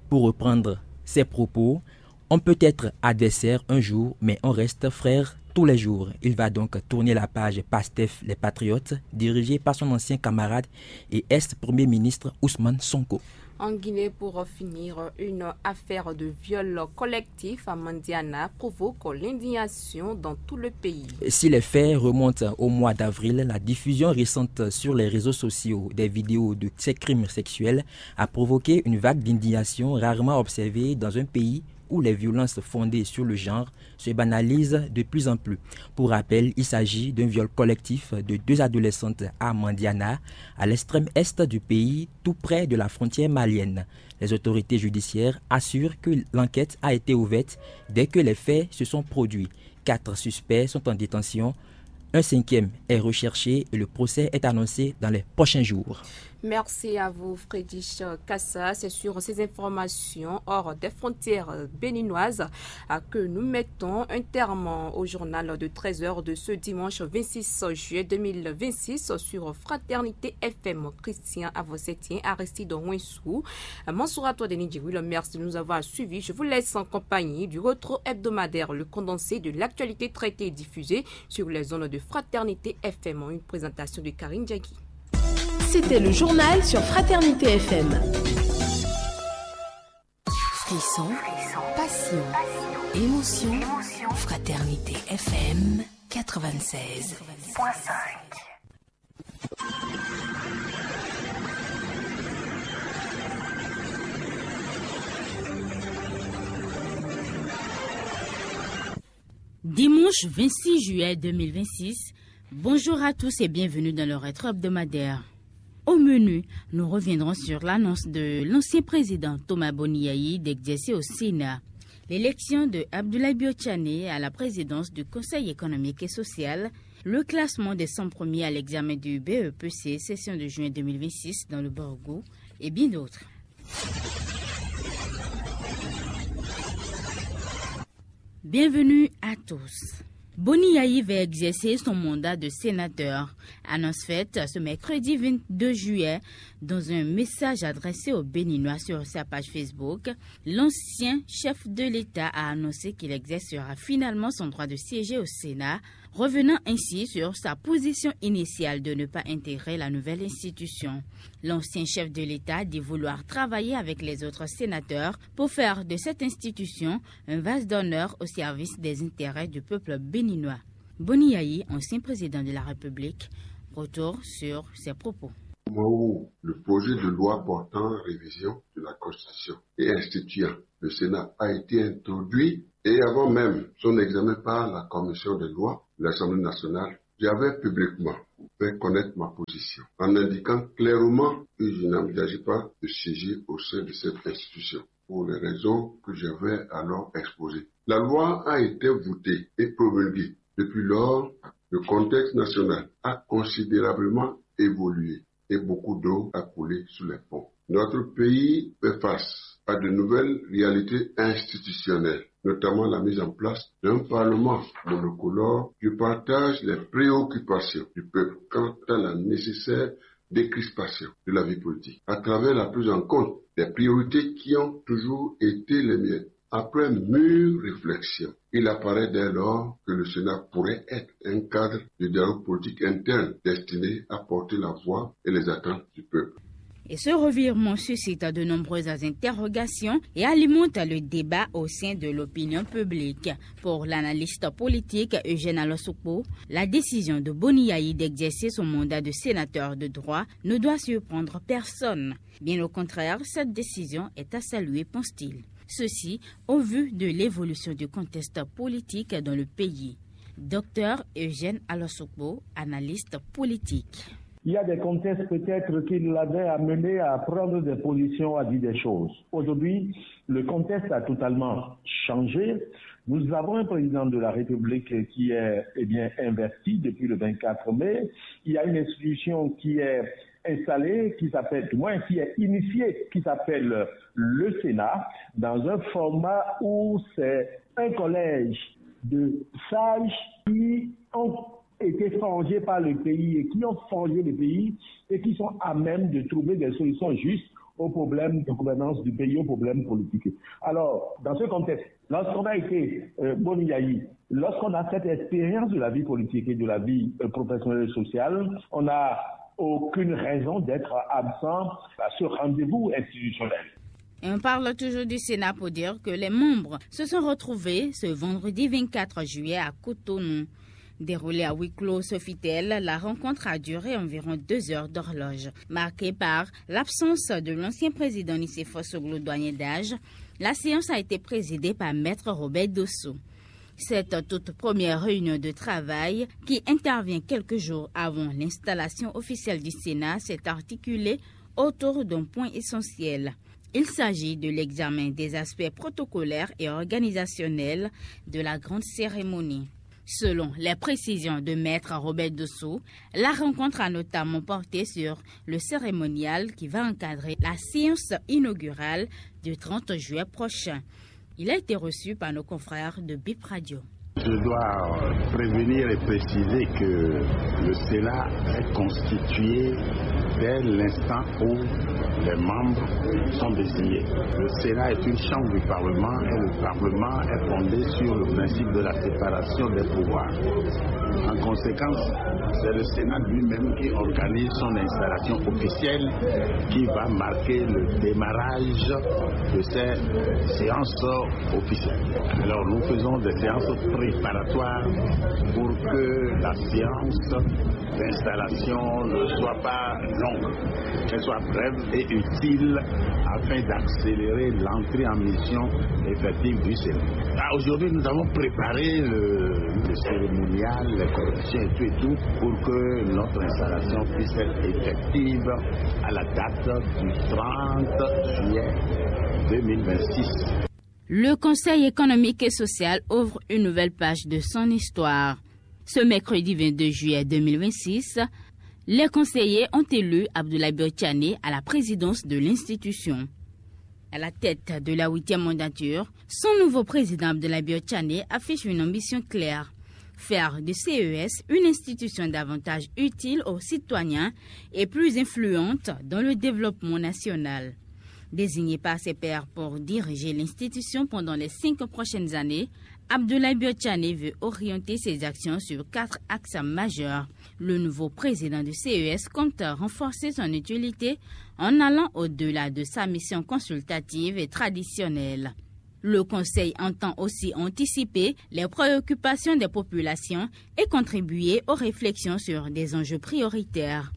Pour reprendre ses propos, on peut être adversaire un jour, mais on reste frère tous les jours. Il va donc tourner la page PASTEF Les Patriotes, dirigée par son ancien camarade et ex-premier ministre Ousmane Sonko. En Guinée, pour finir, une affaire de viol collectif à Mandiana provoque l'indignation dans tout le pays. Si les faits remontent au mois d'avril, la diffusion récente sur les réseaux sociaux des vidéos de ces crimes sexuels a provoqué une vague d'indignation rarement observée dans un pays où les violences fondées sur le genre se banalisent de plus en plus. Pour rappel, il s'agit d'un viol collectif de deux adolescentes à Mandiana, à l'extrême est du pays, tout près de la frontière malienne. Les autorités judiciaires assurent que l'enquête a été ouverte dès que les faits se sont produits. Quatre suspects sont en détention. Un cinquième est recherché et le procès est annoncé dans les prochains jours. Merci à vous, Frédéric Kassa. C'est sur ces informations hors des frontières béninoises, euh, que nous mettons un terme au journal de treize heures de ce dimanche vingt-six juillet deux mille vingt-six sur Fraternité F M. Christian Avocetien, Aristide Ouensou, euh, Mansoura Toadeni Djibril, merci de nous avoir suivis. Je vous laisse en compagnie du retour hebdomadaire, le condensé de l'actualité traitée et diffusée sur les ondes de Fraternité F M, une présentation de Karine Diaky. C'était le journal sur Fraternité F M. Frisson, passion, émotion. Fraternité F M quatre-vingt-seize point cinq. Dimanche vingt-six juillet deux mille vingt-six, bonjour à tous et bienvenue dans le rétro hebdomadaire. Au menu, nous reviendrons sur l'annonce de l'ancien président Thomas Boniyayi d'exercer au Sénat, l'élection de Abdoulaye Biotchané à la présidence du Conseil économique et social, le classement des cent premiers à l'examen du B E P C, session de juin deux mille vingt-six dans le Borgou, et bien d'autres. Bienvenue à tous. Boniyayi va exercer son mandat de sénateur. Annonce faite ce mercredi vingt-deux juillet dans un message adressé aux Béninois sur sa page Facebook. L'ancien chef de l'État a annoncé qu'il exercera finalement son droit de siéger au Sénat, revenant ainsi sur sa position initiale de ne pas intégrer la nouvelle institution. L'ancien chef de l'État dit vouloir travailler avec les autres sénateurs pour faire de cette institution un vase d'honneur au service des intérêts du peuple béninois. Boniyayi, ancien président de la République, retour sur ses propos. Au moment où le projet de loi portant révision de la Constitution et instituant le Sénat a été introduit, et avant même son examen par la Commission des lois de l'Assemblée nationale, j'avais publiquement fait connaître ma position en indiquant clairement que je n'envisageais pas de siéger au sein de cette institution pour les raisons que j'avais alors exposées. La loi a été votée et promulguée. Depuis lors, le contexte national a considérablement évolué et beaucoup d'eau a coulé sous les ponts. Notre pays fait face à de nouvelles réalités institutionnelles, notamment la mise en place d'un Parlement monocolore qui partage les préoccupations du peuple quant à la nécessaire décrispation de la vie politique, à travers la prise en compte des priorités qui ont toujours été les miennes. Après mûre réflexion, il apparaît dès lors que le Sénat pourrait être un cadre de dialogue politique interne destiné à porter la voix et les attentes du peuple. Et ce revirement suscite de nombreuses interrogations et alimente le débat au sein de l'opinion publique. Pour l'analyste politique Eugène Alosokpo, la décision de Boniyayi d'exercer son mandat de sénateur de droit ne doit surprendre personne. Bien au contraire, cette décision est à saluer, pense-t-il. Ceci au vu de l'évolution du contexte politique dans le pays. Docteur Eugène Alosokpo, analyste politique. Il y a des contextes peut-être qui l'avaient amené à prendre des positions, à dire des choses. Aujourd'hui, le contexte a totalement changé. Nous avons un président de la République qui est, eh bien, investi depuis le vingt-quatre mai. Il y a une institution qui est installée, qui s'appelle, du moins, qui est initiée, qui s'appelle le Sénat, dans un format où c'est un collège de sages qui ont été forgés par le pays et qui ont forgé le pays et qui sont à même de trouver des solutions justes aux problèmes de gouvernance du pays, aux problèmes politiques. Alors, dans ce contexte, lorsqu'on a été euh, Boniyayi, lorsqu'on a cette expérience de la vie politique et de la vie euh, professionnelle et sociale, on n'a aucune raison d'être absent à ce rendez-vous institutionnel. Et on parle toujours du Sénat pour dire que les membres se sont retrouvés ce vendredi vingt-quatre juillet à Cotonou. Déroulée à huis clos, ce fut elle, la rencontre a duré environ deux heures d'horloge, marquée par l'absence de l'ancien président Nicéphore Soglo, doyen d'âge. La séance a été présidée par Maître Robert Dossou. Cette toute première réunion de travail, qui intervient quelques jours avant l'installation officielle du Sénat, s'est articulée autour d'un point essentiel. Il s'agit de l'examen des aspects protocolaires et organisationnels de la grande cérémonie. Selon les précisions de Maître Robert Dossou, la rencontre a notamment porté sur le cérémonial qui va encadrer la séance inaugurale du trente juillet prochain. Il a été reçu par nos confrères de Bip Radio. Je dois prévenir et préciser que le Sénat est constitué dès l'instant où les membres sont désignés. Le Sénat est une chambre du Parlement et le Parlement est fondé sur le principe de la séparation des pouvoirs. En conséquence, c'est le Sénat lui-même qui organise son installation officielle qui va marquer le démarrage de ces séances officielles. Alors nous faisons des séances préparatoires pour que la séance d'installation ne soit pas longue, qu'elle soit brève et utile afin d'accélérer l'entrée en mission effective du Sénat. Ah, aujourd'hui, nous avons préparé le, le cérémonial, les corrections et tout et tout pour que notre installation puisse être effective à la date du trente juillet deux mille vingt-six. Le Conseil économique et social ouvre une nouvelle page de son histoire. Ce mercredi vingt-deux juillet deux mille vingt-six, les conseillers ont élu Abdoulaye Biotchané à la présidence de l'institution. À la tête de la huitième mandature, son nouveau président Abdoulaye Biotchané affiche une ambition claire, faire de C E S une institution davantage utile aux citoyens et plus influente dans le développement national. Désigné par ses pairs pour diriger l'institution pendant les cinq prochaines années, Abdoulaye Biotchané veut orienter ses actions sur quatre axes majeurs. Le nouveau président du C E S compte renforcer son utilité en allant au-delà de sa mission consultative et traditionnelle. Le Conseil entend aussi anticiper les préoccupations des populations et contribuer aux réflexions sur des enjeux prioritaires.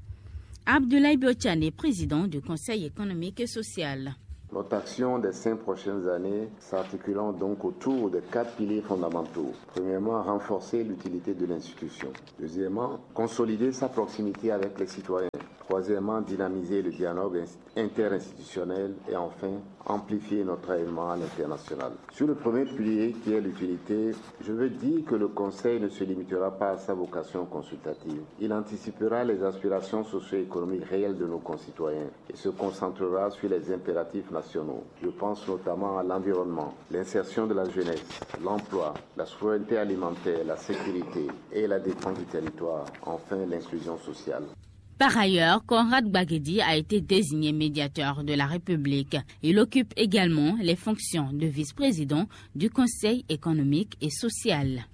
Abdoulaye Biotchané, président du Conseil économique et social. Notre action des cinq prochaines années s'articulant donc autour de quatre piliers fondamentaux. Premièrement, renforcer l'utilité de l'institution. Deuxièmement, consolider sa proximité avec les citoyens. Troisièmement, dynamiser le dialogue interinstitutionnel et enfin amplifier notre rayonnement à l'international. Sur le premier pilier qui est l'utilité, je veux dire que le Conseil ne se limitera pas à sa vocation consultative. Il anticipera les aspirations socio-économiques réelles de nos concitoyens et se concentrera sur les impératifs nationaux. Je pense notamment à l'environnement, l'insertion de la jeunesse, l'emploi, la souveraineté alimentaire, la sécurité et la défense du territoire, enfin l'inclusion sociale. Par ailleurs, Conrad Gbagedi a été désigné médiateur de la République. Il occupe également les fonctions de vice-président du Conseil économique et social.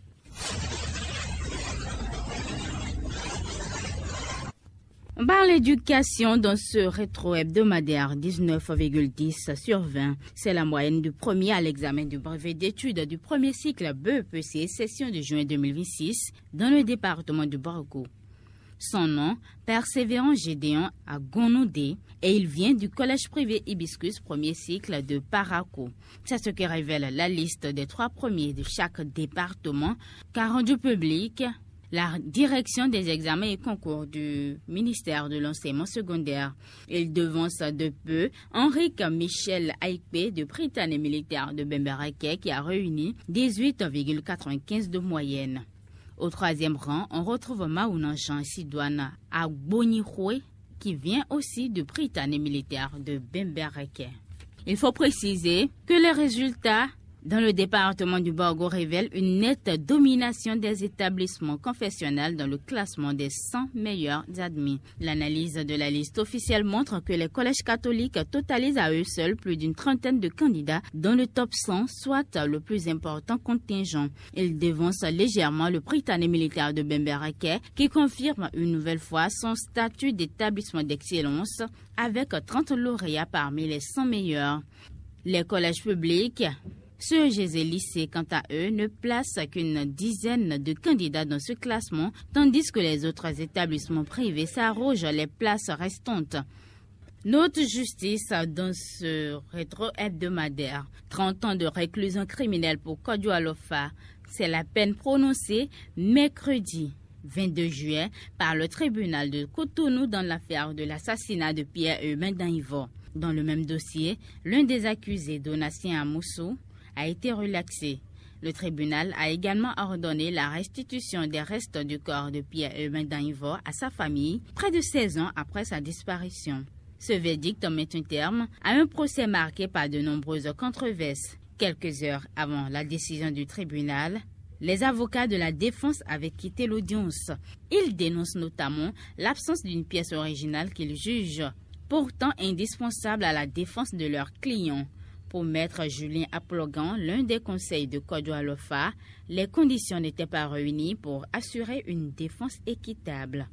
On parle d'éducation dans ce rétro-hebdomadaire, dix-neuf virgule dix sur vingt. C'est la moyenne du premier à l'examen du brevet d'études du premier cycle B E P C, session de juin deux mille vingt-six, dans le département du Borgo. Son nom, Persévérant Gédéon à Gonodé, et il vient du collège privé Hibiscus, premier cycle de Parakou. C'est ce que révèle la liste des trois premiers de chaque département, qu'a rendu public la direction des examens et concours du ministère de l'enseignement secondaire. Il devance de peu Henrique Michel Aïkpé de Prytanée militaire de Bembereke qui a réuni dix-huit virgule quatre-vingt-quinze de moyenne. Au troisième rang, on retrouve Maouna Jean Sidouane Agbonyikhoué qui vient aussi de Prytanée militaire de Bembereke. Il faut préciser que les résultats dans le département du Borgo révèlent une nette domination des établissements confessionnels dans le classement des cent meilleurs admis. L'analyse de la liste officielle montre que les collèges catholiques totalisent à eux seuls plus d'une trentaine de candidats dans le top cent, soit le plus important contingent. Il devance légèrement le Prytanée militaire de Bembereke, qui confirme une nouvelle fois son statut d'établissement d'excellence avec trente lauréats parmi les cent meilleurs. Les collèges publics, C E G et lycées, quant à eux, ne placent qu'une dizaine de candidats dans ce classement, tandis que les autres établissements privés s'arrogent les places restantes. Note justice dans ce rétro hebdomadaire. Trente ans de réclusion criminelle pour Kodjo Alofa. C'est la peine prononcée mercredi vingt-deux juillet par le tribunal de Cotonou dans l'affaire de l'assassinat de Pierre Urbain Danivor. Dans le même dossier, l'un des accusés, Donatien Amoussou, a été relaxé. Le tribunal a également ordonné la restitution des restes du corps de Pierre Urbain Danivor à sa famille, près de seize ans après sa disparition. Ce verdict met un terme à un procès marqué par de nombreuses controverses. Quelques heures avant la décision du tribunal, les avocats de la défense avaient quitté l'audience. Ils dénoncent notamment l'absence d'une pièce originale qu'ils jugent pourtant indispensable à la défense de leur client. Pour maître Julien Aplogan, l'un des conseils de Kodjo Alofa, les conditions n'étaient pas réunies pour assurer une défense équitable.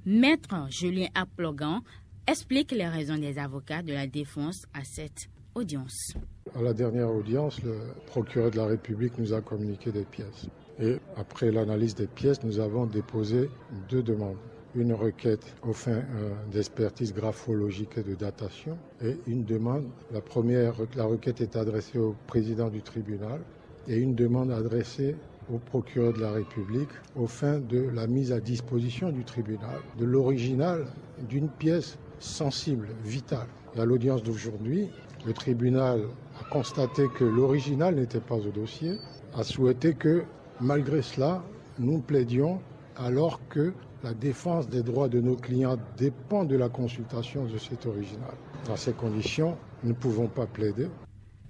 Maître Julien Aplogan explique les raisons des avocats de la défense à cette audience. À la dernière audience, le procureur de la République nous a communiqué des pièces. Et après l'analyse des pièces, nous avons déposé deux demandes. Une requête aux fins euh, d'expertise graphologique et de datation et une demande. La première, la requête est adressée au président du tribunal et une demande adressée au procureur de la République aux fins de la mise à disposition du tribunal de l'original d'une pièce sensible, vitale. Et à l'audience d'aujourd'hui, le tribunal a constaté que l'original n'était pas au dossier, a souhaité que, malgré cela, nous plaidions alors que la défense des droits de nos clients dépend de la consultation de cet original. Dans ces conditions, nous ne pouvons pas plaider.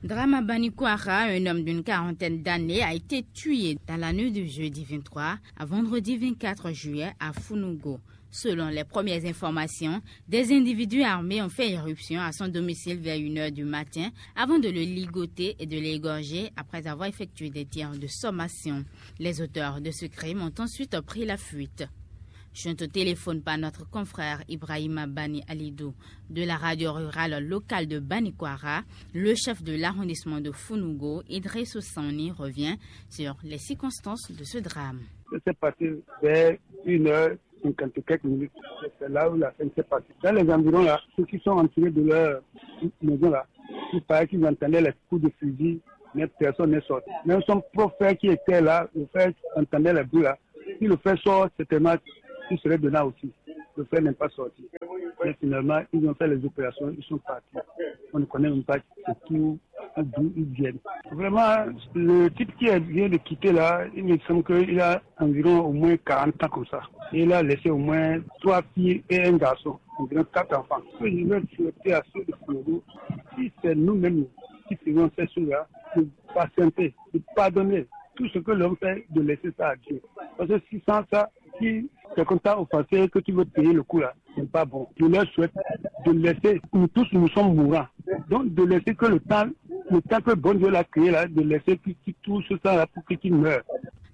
Drame à Banikwara, un homme d'une quarantaine d'années a été tué dans la nuit du jeudi vingt-trois à vendredi vingt-quatre juillet à Funugo. Selon les premières informations, des individus armés ont fait irruption à son domicile vers une heure du matin avant de le ligoter et de l'égorger après avoir effectué des tirs de sommation. Les auteurs de ce crime ont ensuite pris la fuite. Joint au téléphone par notre confrère Ibrahima Bani Alidou de la radio rurale locale de Banikwara, le chef de l'arrondissement de Funugo, Idriss Sani, revient sur les circonstances de ce drame. Ça s'est passé vers une heure cinquante et quelques minutes. C'est là où la scène s'est passée. Dans les environs là, ceux qui sont entourés de leur maison là, il paraît qu'ils entendaient les coups de fusil, mais personne n'est sorti. Même son propre frère qui était là, le frère entendait les bruits là. Si le frère sort, certainement, il serait dedans aussi. Le frère n'est pas sorti. Mais finalement, ils ont fait les opérations, ils sont partis. On ne connaît même pas c'est qui ou d'où ils viennent. Vraiment, le type qui vient de quitter là, il me semble qu'il a environ au moins quarante ans comme ça. Et il a laissé au moins trois filles et un garçon, environ quatre enfants. Ce que je vais souhaiter à ceux de Foulou, si c'est nous-mêmes qui faisons ces choses-là, de patienter, de pardonner tout ce que l'homme fait, de laisser ça à Dieu. Parce que si sans ça, si c'est comme ça offensé que tu veux payer le coup là, c'est pas bon. Je leur souhaite de laisser, nous tous nous sommes mourants. Donc de laisser que le temps, le temps que bon Dieu l'a créé là, de laisser qu'il qu'il touche ça là pour qu'il meure.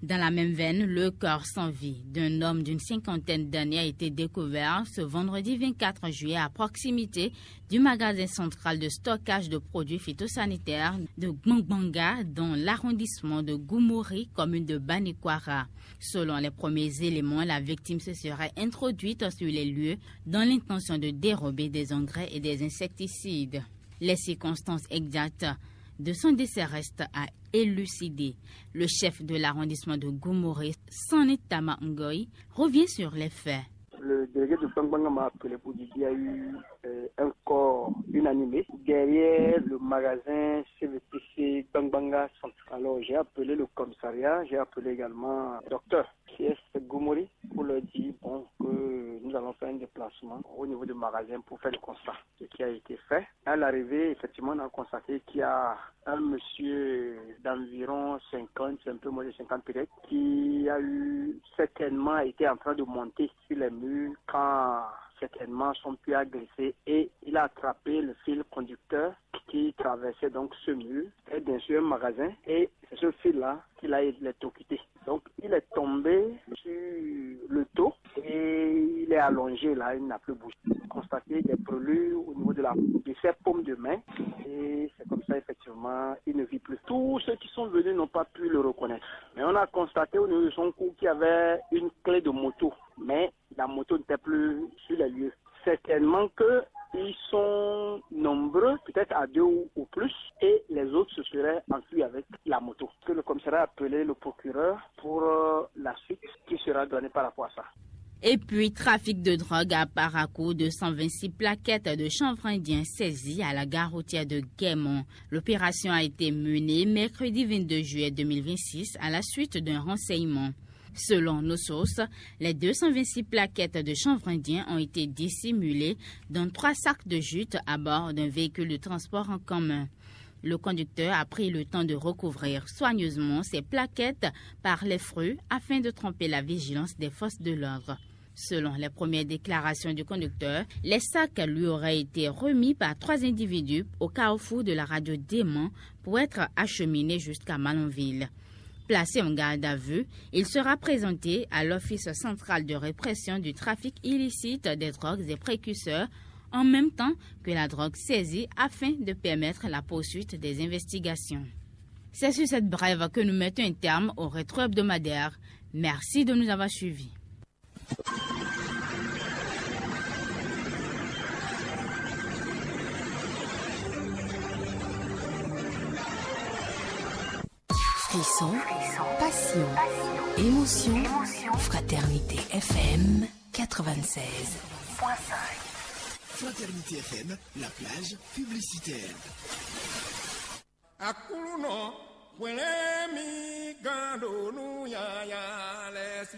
Dans la même veine, le corps sans vie d'un homme d'une cinquantaine d'années a été découvert ce vendredi vingt-quatre juillet à proximité du magasin central de stockage de produits phytosanitaires de Gbangbanga dans l'arrondissement de Goumouri, commune de Banikwara. Selon les premiers éléments, la victime se serait introduite sur les lieux dans l'intention de dérober des engrais et des insecticides. Les circonstances exactes de son décès reste à élucider. Le chef de l'arrondissement de Goumouré, Sanitama Ngoy, revient sur les faits. Le délégué de Bangbanga m'a appelé pour dire qu'il y a eu euh, un corps inanimé derrière le magasin C V T C Bangbanga Centre. Alors j'ai appelé le commissariat, j'ai appelé également docteur qui est Gomori pour leur dire bon, que nous allons faire un déplacement au niveau du magasin pour faire le constat. Ce qui a été fait. À l'arrivée, effectivement, on a constaté qu'il y a un monsieur d'environ cinquante, c'est un peu moins de cinquante peut-être, qui a eu certainement été en train de monter sur les murs quand certainement son pied a glissé et il a attrapé le fil conducteur qui traversait donc ce mur et bien sûr un magasin et c'est ce fil-là qu'il a électrocuté. Donc il est tombé sur le dos et il est allongé là, il n'a plus bougé. Constaté des brûlures au niveau de la de ses paumes de main et c'est comme ça effectivement il ne vit plus. Tous ceux qui sont venus n'ont pas pu le reconnaître. Mais on a constaté au niveau de son cou qu'il y avait une clé de moto. Mais la moto n'était plus sur les lieux. Certainement que ils sont nombreux, peut-être à deux ou, ou plus, et les autres se seraient enfuis avec la moto. Que le commissariat a appelé le procureur pour euh, la suite qui sera donnée par rapport à ça. Et puis, trafic de drogue à Parakou, deux cent vingt-six plaquettes de chanvre indien saisies à la gare routière de Guémont. L'opération a été menée mercredi vingt-deux juillet deux mille vingt-six à la suite d'un renseignement. Selon nos sources, les deux cent vingt-six plaquettes de chanvre indien ont été dissimulées dans trois sacs de jute à bord d'un véhicule de transport en commun. Le conducteur a pris le temps de recouvrir soigneusement ces plaquettes par les fruits afin de tromper la vigilance des forces de l'ordre. Selon les premières déclarations du conducteur, les sacs lui auraient été remis par trois individus au carrefour de la radio Démon pour être acheminés jusqu'à Malanville. Placé en garde à vue, il sera présenté à l'Office central de répression du trafic illicite des drogues et précurseurs en même temps que la drogue saisie afin de permettre la poursuite des investigations. C'est sur cette brève que nous mettons un terme au rétro hebdomadaire. Merci de nous avoir suivis. Frisson, passion, émotion, Fraternité F M quatre-vingt-seize. Fraternité F M, la plage publicitaire. Aklúnɔ, hwlɛ́n mì gán ɖo nú yaya lɛ́ɛ sí.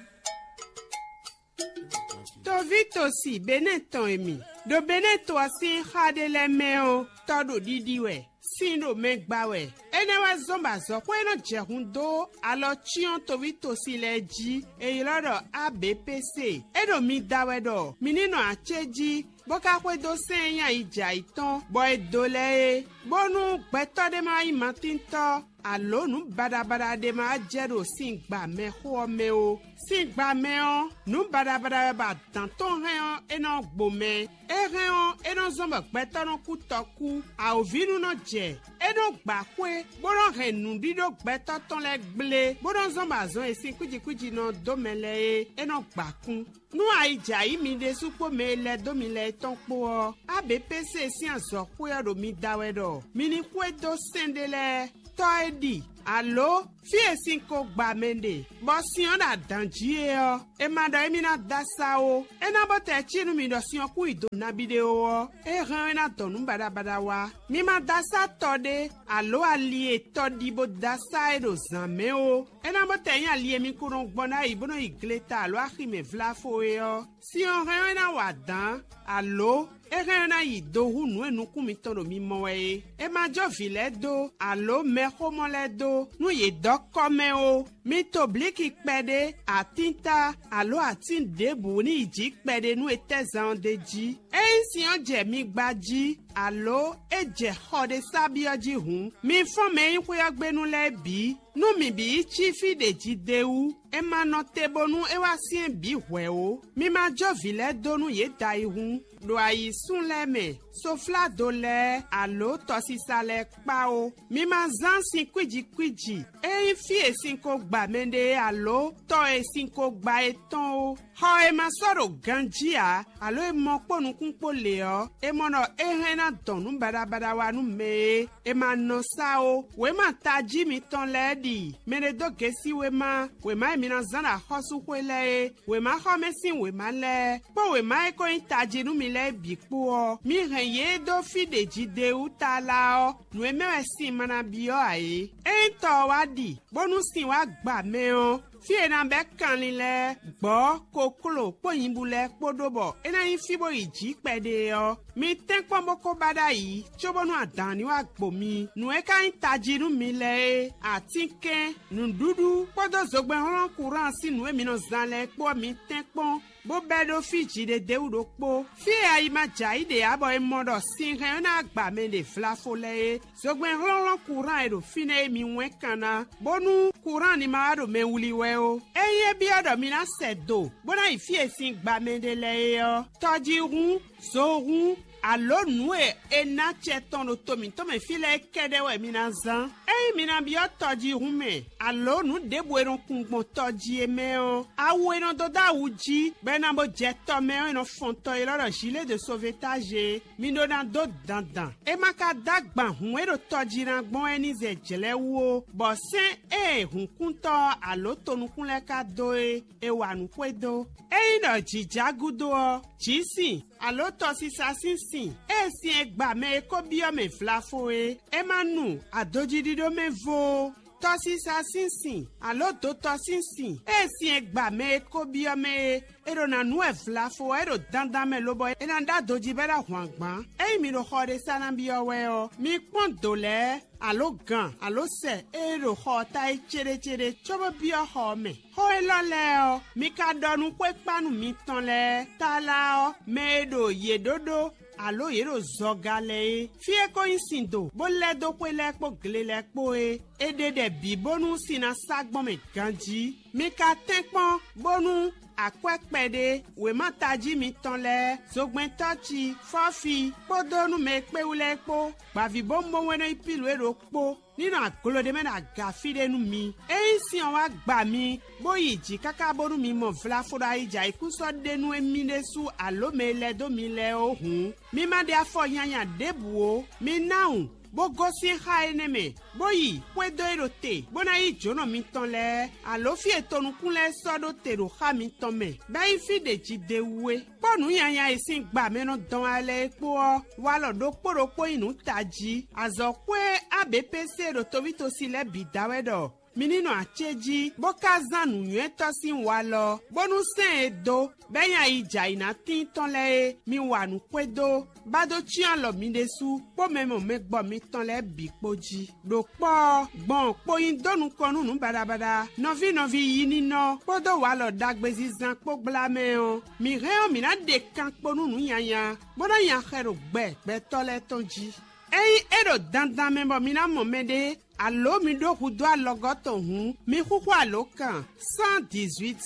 Toví tosi Benɛ́ tɔn e mi ɖo Benɛ́ to ɔ́ sín xá ɖé lɛ́ɛ mɛ ɔ́, tɔ́ ɖo ɖiɖi wɛ, sin ɖo mɛ gba wɛ. Énɛ́ wɛ zɔ́n bɔ azɔ̌xwé e nɔ jɛ hun dó alɔ cyɔ́n toví tosi lɛ́ɛ jí, è ylɔ́ ɖɔ A B P C. É ɖo mi da wɛ ɖɔ mi ní nɔ acéjí, bó ka xwedó sɛ́n e nyí ayijɛ ayǐtɔn, bɔ è dǒ lɛ́ɛ é, bónú gbɛtɔ́ ɖé ma nyí matíntɔ́, alǒ nǔ baɖabaɖa ɖé ma jɛ ɖo sin gba mɛxó ɔ́ mɛ ó. Sin gba mɛ ɔ́, nǔ baɖabaɖa wɛ bɔ adǎn tɔn hɛn ɔ́, é nɔ gbo mɛ. É hɛn ɔ́, é nɔ zɔ́n bɔ gbɛtɔ́ nɔ kú tɔkú, awǒvínú nɔ jɛ, é nɔ gba xwé, bó nɔ hɛn nǔɖíɖó gbɛtɔ́ tɔn lɛ́ɛ gblé, bó nɔ zɔ́n bɔ azɔn e sin kwíji kwíji nɔ dó mɛ lɛ́ɛ é, é nɔ gba kún. Nú ayi jɛ ayǐ mi ɖésú kpó mɛ e lɛ́ dó mi lɛ́ɛ tɔn kpó ɔ́, A B P C sín azɔ̌xwé ɔ́ ɖo mi da wɛ ɖɔ mi ní xwedó sɛ́n ɖé lɛ́ɛ, tɔ́ e ɖi, alǒ fí e sin ko gba mɛ ɖe, bɔ sin ɔ́ ɖo adǎn jí é ɔ́, è ma ɖɔ émí ná dó asá ó. É ná bó tɛ cí nú mi ɖɔ sin ɔ́ kún yi do nabí ɖé ó ɔ́, é hɛn ɔ́ é ná dɔn nǔ baɖabaɖa wá. Mi ma dó asá tɔ ɖé, alǒ ali e tɔ ɖi bó dó asá é ɖo zǎn mɛ ó. É ná bó tɛ nyí ali e mi ko nɔ gbɔn ná yi bó nɔ́ yi gleta alǒ axi mɛ vláfo é ɔ́, sin ɔ́ hɛn ɔ́ é ná wa dǎn, alǒ é hɛn ɔ́ é ná yi do hú nǔ e nukún mitɔn ɖo mi mɔ wɛ é. È ma jó vǐ lɛ́ɛ dó, alǒ mɛxómɔ lɛ́ɛ dó, nú yě dɔ́ kɔ́ mɛ ó. Mi to blǐki kpɛɖé, atínta, alǒ atín ɖěbǔ ní yi jǐ kpɛɖé nú etɛ́zan ɔ́ d'é jí. Ényí sin ɔ́ jɛ mi gba jí, alǒ é jɛ xɔ ɖé sá byɔ́ jí hǔn, mi fɔ́n mɛ e nyí xwé ɔ́ gbe nú lɛ́ɛ bǐ. Nú mǐ bǐ yi cí fí ɖě jí d'é wú, è ma nɔ te bónú é wá syɛ́n bǐ hwɛ̌ ó. Mi ma jó vǐ lɛ́ɛ dó nú yě da yi hǔn, ɖo ayǐsún lɛ́ɛ mɛ. sofládo lɛ́ɛ, alǒ tɔsisa lɛ́ɛ kpá ó. Mi ma zán sin kwíji kwíji. Ényí fí e sin ko gba mɛɖé alǒ tɔ e sin ko gba é tɔn ó. Xɔ e ma sɔ́ ɖo ganjí ǎ, alǒ e mɔ kpó nukún kpó lě ɔ́, è mɔ ɖɔ é hɛn ná dɔn nǔ baɖabaɖa wá nú mɛ e è ma nɔ sá ó. Wěma tají mitɔn lɛ́ɛ ɖi mɛ ɖé dó gěsí wěma, wěma e mi ná zán ɖo axɔ́súxwé lɛ́ɛ é, wěmaxɔmɛ sín wěma lɛ́ɛ, kpó wěma e ko nyí tají nú mi lɛ́ɛ bǐ kpó ɔ́, mi hɛn yě dó fí ɖě jí d'é wú tlala ɔ́, nǔ e mɛ wɛ sin ma ná byɔ́ ǎ é. Ényí tɔ ɔ́ wá ɖi, bónú sin wá gba mɛ ɔ́, fí e è nǎ bɛ́ kanlin lɛ́ɛ, gbɔ̌, kokló kpó nyibú lɛ́ɛ kpó ɖó bɔ é ná nyí fí bó yi jǐ kpɛɖé ɔ́, mi tɛ́nkpɔ́n bó ko ba ɖ'ayǐ, cóbónú adǎn ní wá gbo mi. Nǔ e ka nyí tají nú mi lɛ́ɛ é, atínkɛn, nǔɖuɖu kpódó zogbɛ́nhlɔ́n kuran sín nǔ e mi nɔ zán lɛ́ɛ kpó ɔ́, mi tɛ́nkpɔ́n bó bɛ́ ɖó fí jǐɖédéwú ɖokpó. Fí e ayi ma jɛ ayǐ ɖe ǎ bɔ è mɔ ɖɔ sin hɛn ɔ́ ná gba mɛ ɖe vlafo lɛ́ɛ é. Zogbɛ́n hlɔ́nhlɔ́n kuran e ɖo fínɛ́ é mi wɛ́n kan ná, bónú kuran ní ma wá ɖo mɛ wlí wɛ ó. Ényí é byɔ́ ɖɔ mi ná sɛ do, bó ná yi fí e sin gba mɛ ɖe lɛ́ɛ é ɔ́, tɔjíhún, zohún, alǒ nǔ e è nǎ acɛ tɔn ɖo to mǐtɔn mɛ fí lɛ́ɛ kɛ́ɖɛ́ wɛ mi ná zán. Ényí mi ná byɔ́ tɔjíhún mɛ, alǒ nǔ ɖěbǔ e nɔ kun gbɔn tɔ jí é mɛ ɔ́, awu e nɔ dó dó awu jí, bɔ è nɔ bo jɛ tɔ mɛ ɔ́, è nɔ fɔn tɔ élɔ́ ɖɔ zǐlé de sovetáze é. Mi ɖó ná dó dandan. É ma ka dó agban hǔn e ɖo tɔ jí ná gbɔn wɛ ní zɛ jlɛ̌ wú ó, bɔ sɛ́n e hǔnkúntɔ́ ɔ́ alǒ tonukún lɛ́ɛ ka dó é, è wa nǔ xwedó. Ényí ɖɔ jǐ já gúdo ɔ́, jǐ sin, alǒ tɔsisa sín sin, ée sin e gba mɛ e ko byɔ́ mɛ vlafo é, é ma nu adojíɖíɖó mɛ vo ó. Tɔsisa sín sin, alǒ dotɔ sín sin, ée sin e gba mɛ e ko byɔ́ mɛ é, è ɖo ná nu wɛ vlafo ɔ́, é ɖo dandan mɛ lobɔ é ná ɖó adojí bɔ é ná hwan gbǎn. Ényí mi ɖo xɔ ɖé sá ná byɔ́ wɛ ɔ́, mi kpɔ́n dǒ lɛ́ɛ, alǒ gan, alǒ sɛ e ɖo xɔ ɔ́ ta é céɖécéɖé, cóbó byɔ́ xɔ ɔ́ mɛ. Xó élɔ́ lɛ́ɛ ɔ́, mi ka ɖɔ nú xwékpánu mitɔn lɛ́ɛ, tlala ɔ́, mɛ e ɖo yě ɖó ɖó, alǒ yě ɖo zɔga lɛ́ɛ é. Fí e ko nyí sin do, bó lɛ́ dó xwé lɛ́ɛ kpó gle lɛ́ɛ kpó é, è ɖe ɖɛ bǐ bónú sin ná sá gbɔn mɛ ganjí. Mi ka tɛ́nkpɔ́n bónú akwɛ́ kpɛɖé, wěma tají mitɔn lɛ́ɛ, zogbɛ́ntɔ́ ce, fɔ́fi, kpódó nú mɛ e kpé wú lɛ́ɛ kpó, gbǎvíbówúnbówún e nɔ nyí Pilu é ɖokpó, ní nɔ aglo ɖé mɛ ɖo aga fí ɖé nú mi. Ényí sin ɔ́ wá gba mi, bó yi jǐ káká bónú mi mɔ vlafo ɖo ayijɛ ayǐkúsɔ́ ɖé nú émí ɖésú alǒ mɛ e lɛ́ dó mi lɛ́ɛ ó hǔn, mi ma ɖe afɔ nyanya ɖěbǔ ó. Mi ná wǔ, bó gosín xá énɛ́ mɛ, bó yi xwedó e ɖo te, bó ná yí jǒnɔ mitɔn lɛ́ɛ, alǒ fí e tonukún lɛ́ɛ sɔ́ ɖó te ɖo xá mitɔn mɛ, bɔ é nyí fí ɖě jí d'é wú é. Kpó nǔ nyanya e sín gba mɛ nɔ dɔn wá lɛ́ɛ é kpó ɔ́, walɔ ɖokpó ɖokpó nyí nǔ tají. Azɔ̌xwé A B P C ɖo tovítosi lɛ́ɛ bǐ da wɛ ɖɔ mi ní nɔ acéjí, bó ka zán nǔnywɛ́tɔ́ sín walɔ, bónú sɛ́n e dó, bɔ é nyí ayi jɛ ayǐ ná tíin tɔn lɛ́ɛ é, mi wa nǔ xwedó, bá dó cyɔ́n alɔ mi ɖésú kpó mɛ mɔ mɛ gbɔ mitɔn lɛ́ɛ bǐ kpó jí. Ɖo kpɔ́ ɔ́, gbɔn kpo nyi dó nukɔn nú nǔ baɖabaɖa, nɔví nɔví yi nínɔ kpódó walɔ ɖagbezinzan kpó gbla mɛ ɔ́, mǐ hɛn ɔ́, mǐ ná ɖe kan kpo nú nǔ nyanya, bó ná nya xɛ ɖo gbɛ gbɛtɔ́ lɛ́ɛ tɔn jí. Ényí é ɖo dandan mɛ bɔ mi ná mɔ mɛɖé, alǒ mi ɖó hudó alɔgɔ́ tɔn hǔn, mi xúxú alǒ kan cent dix-huit,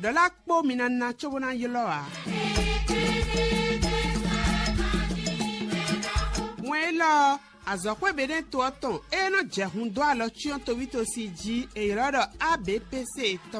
ɖɔ lá kpó mi ná ná cóbó ná ylɔ́ ǎ. Wɛn élɔ́ ɔ́, azɔ̌xwé Benɛ́to ɔ́ tɔn e nɔ jɛ hun dó alɔ cyɔ́n tovítosi jí è ylɔ́ ɖɔ A B P C tɔn.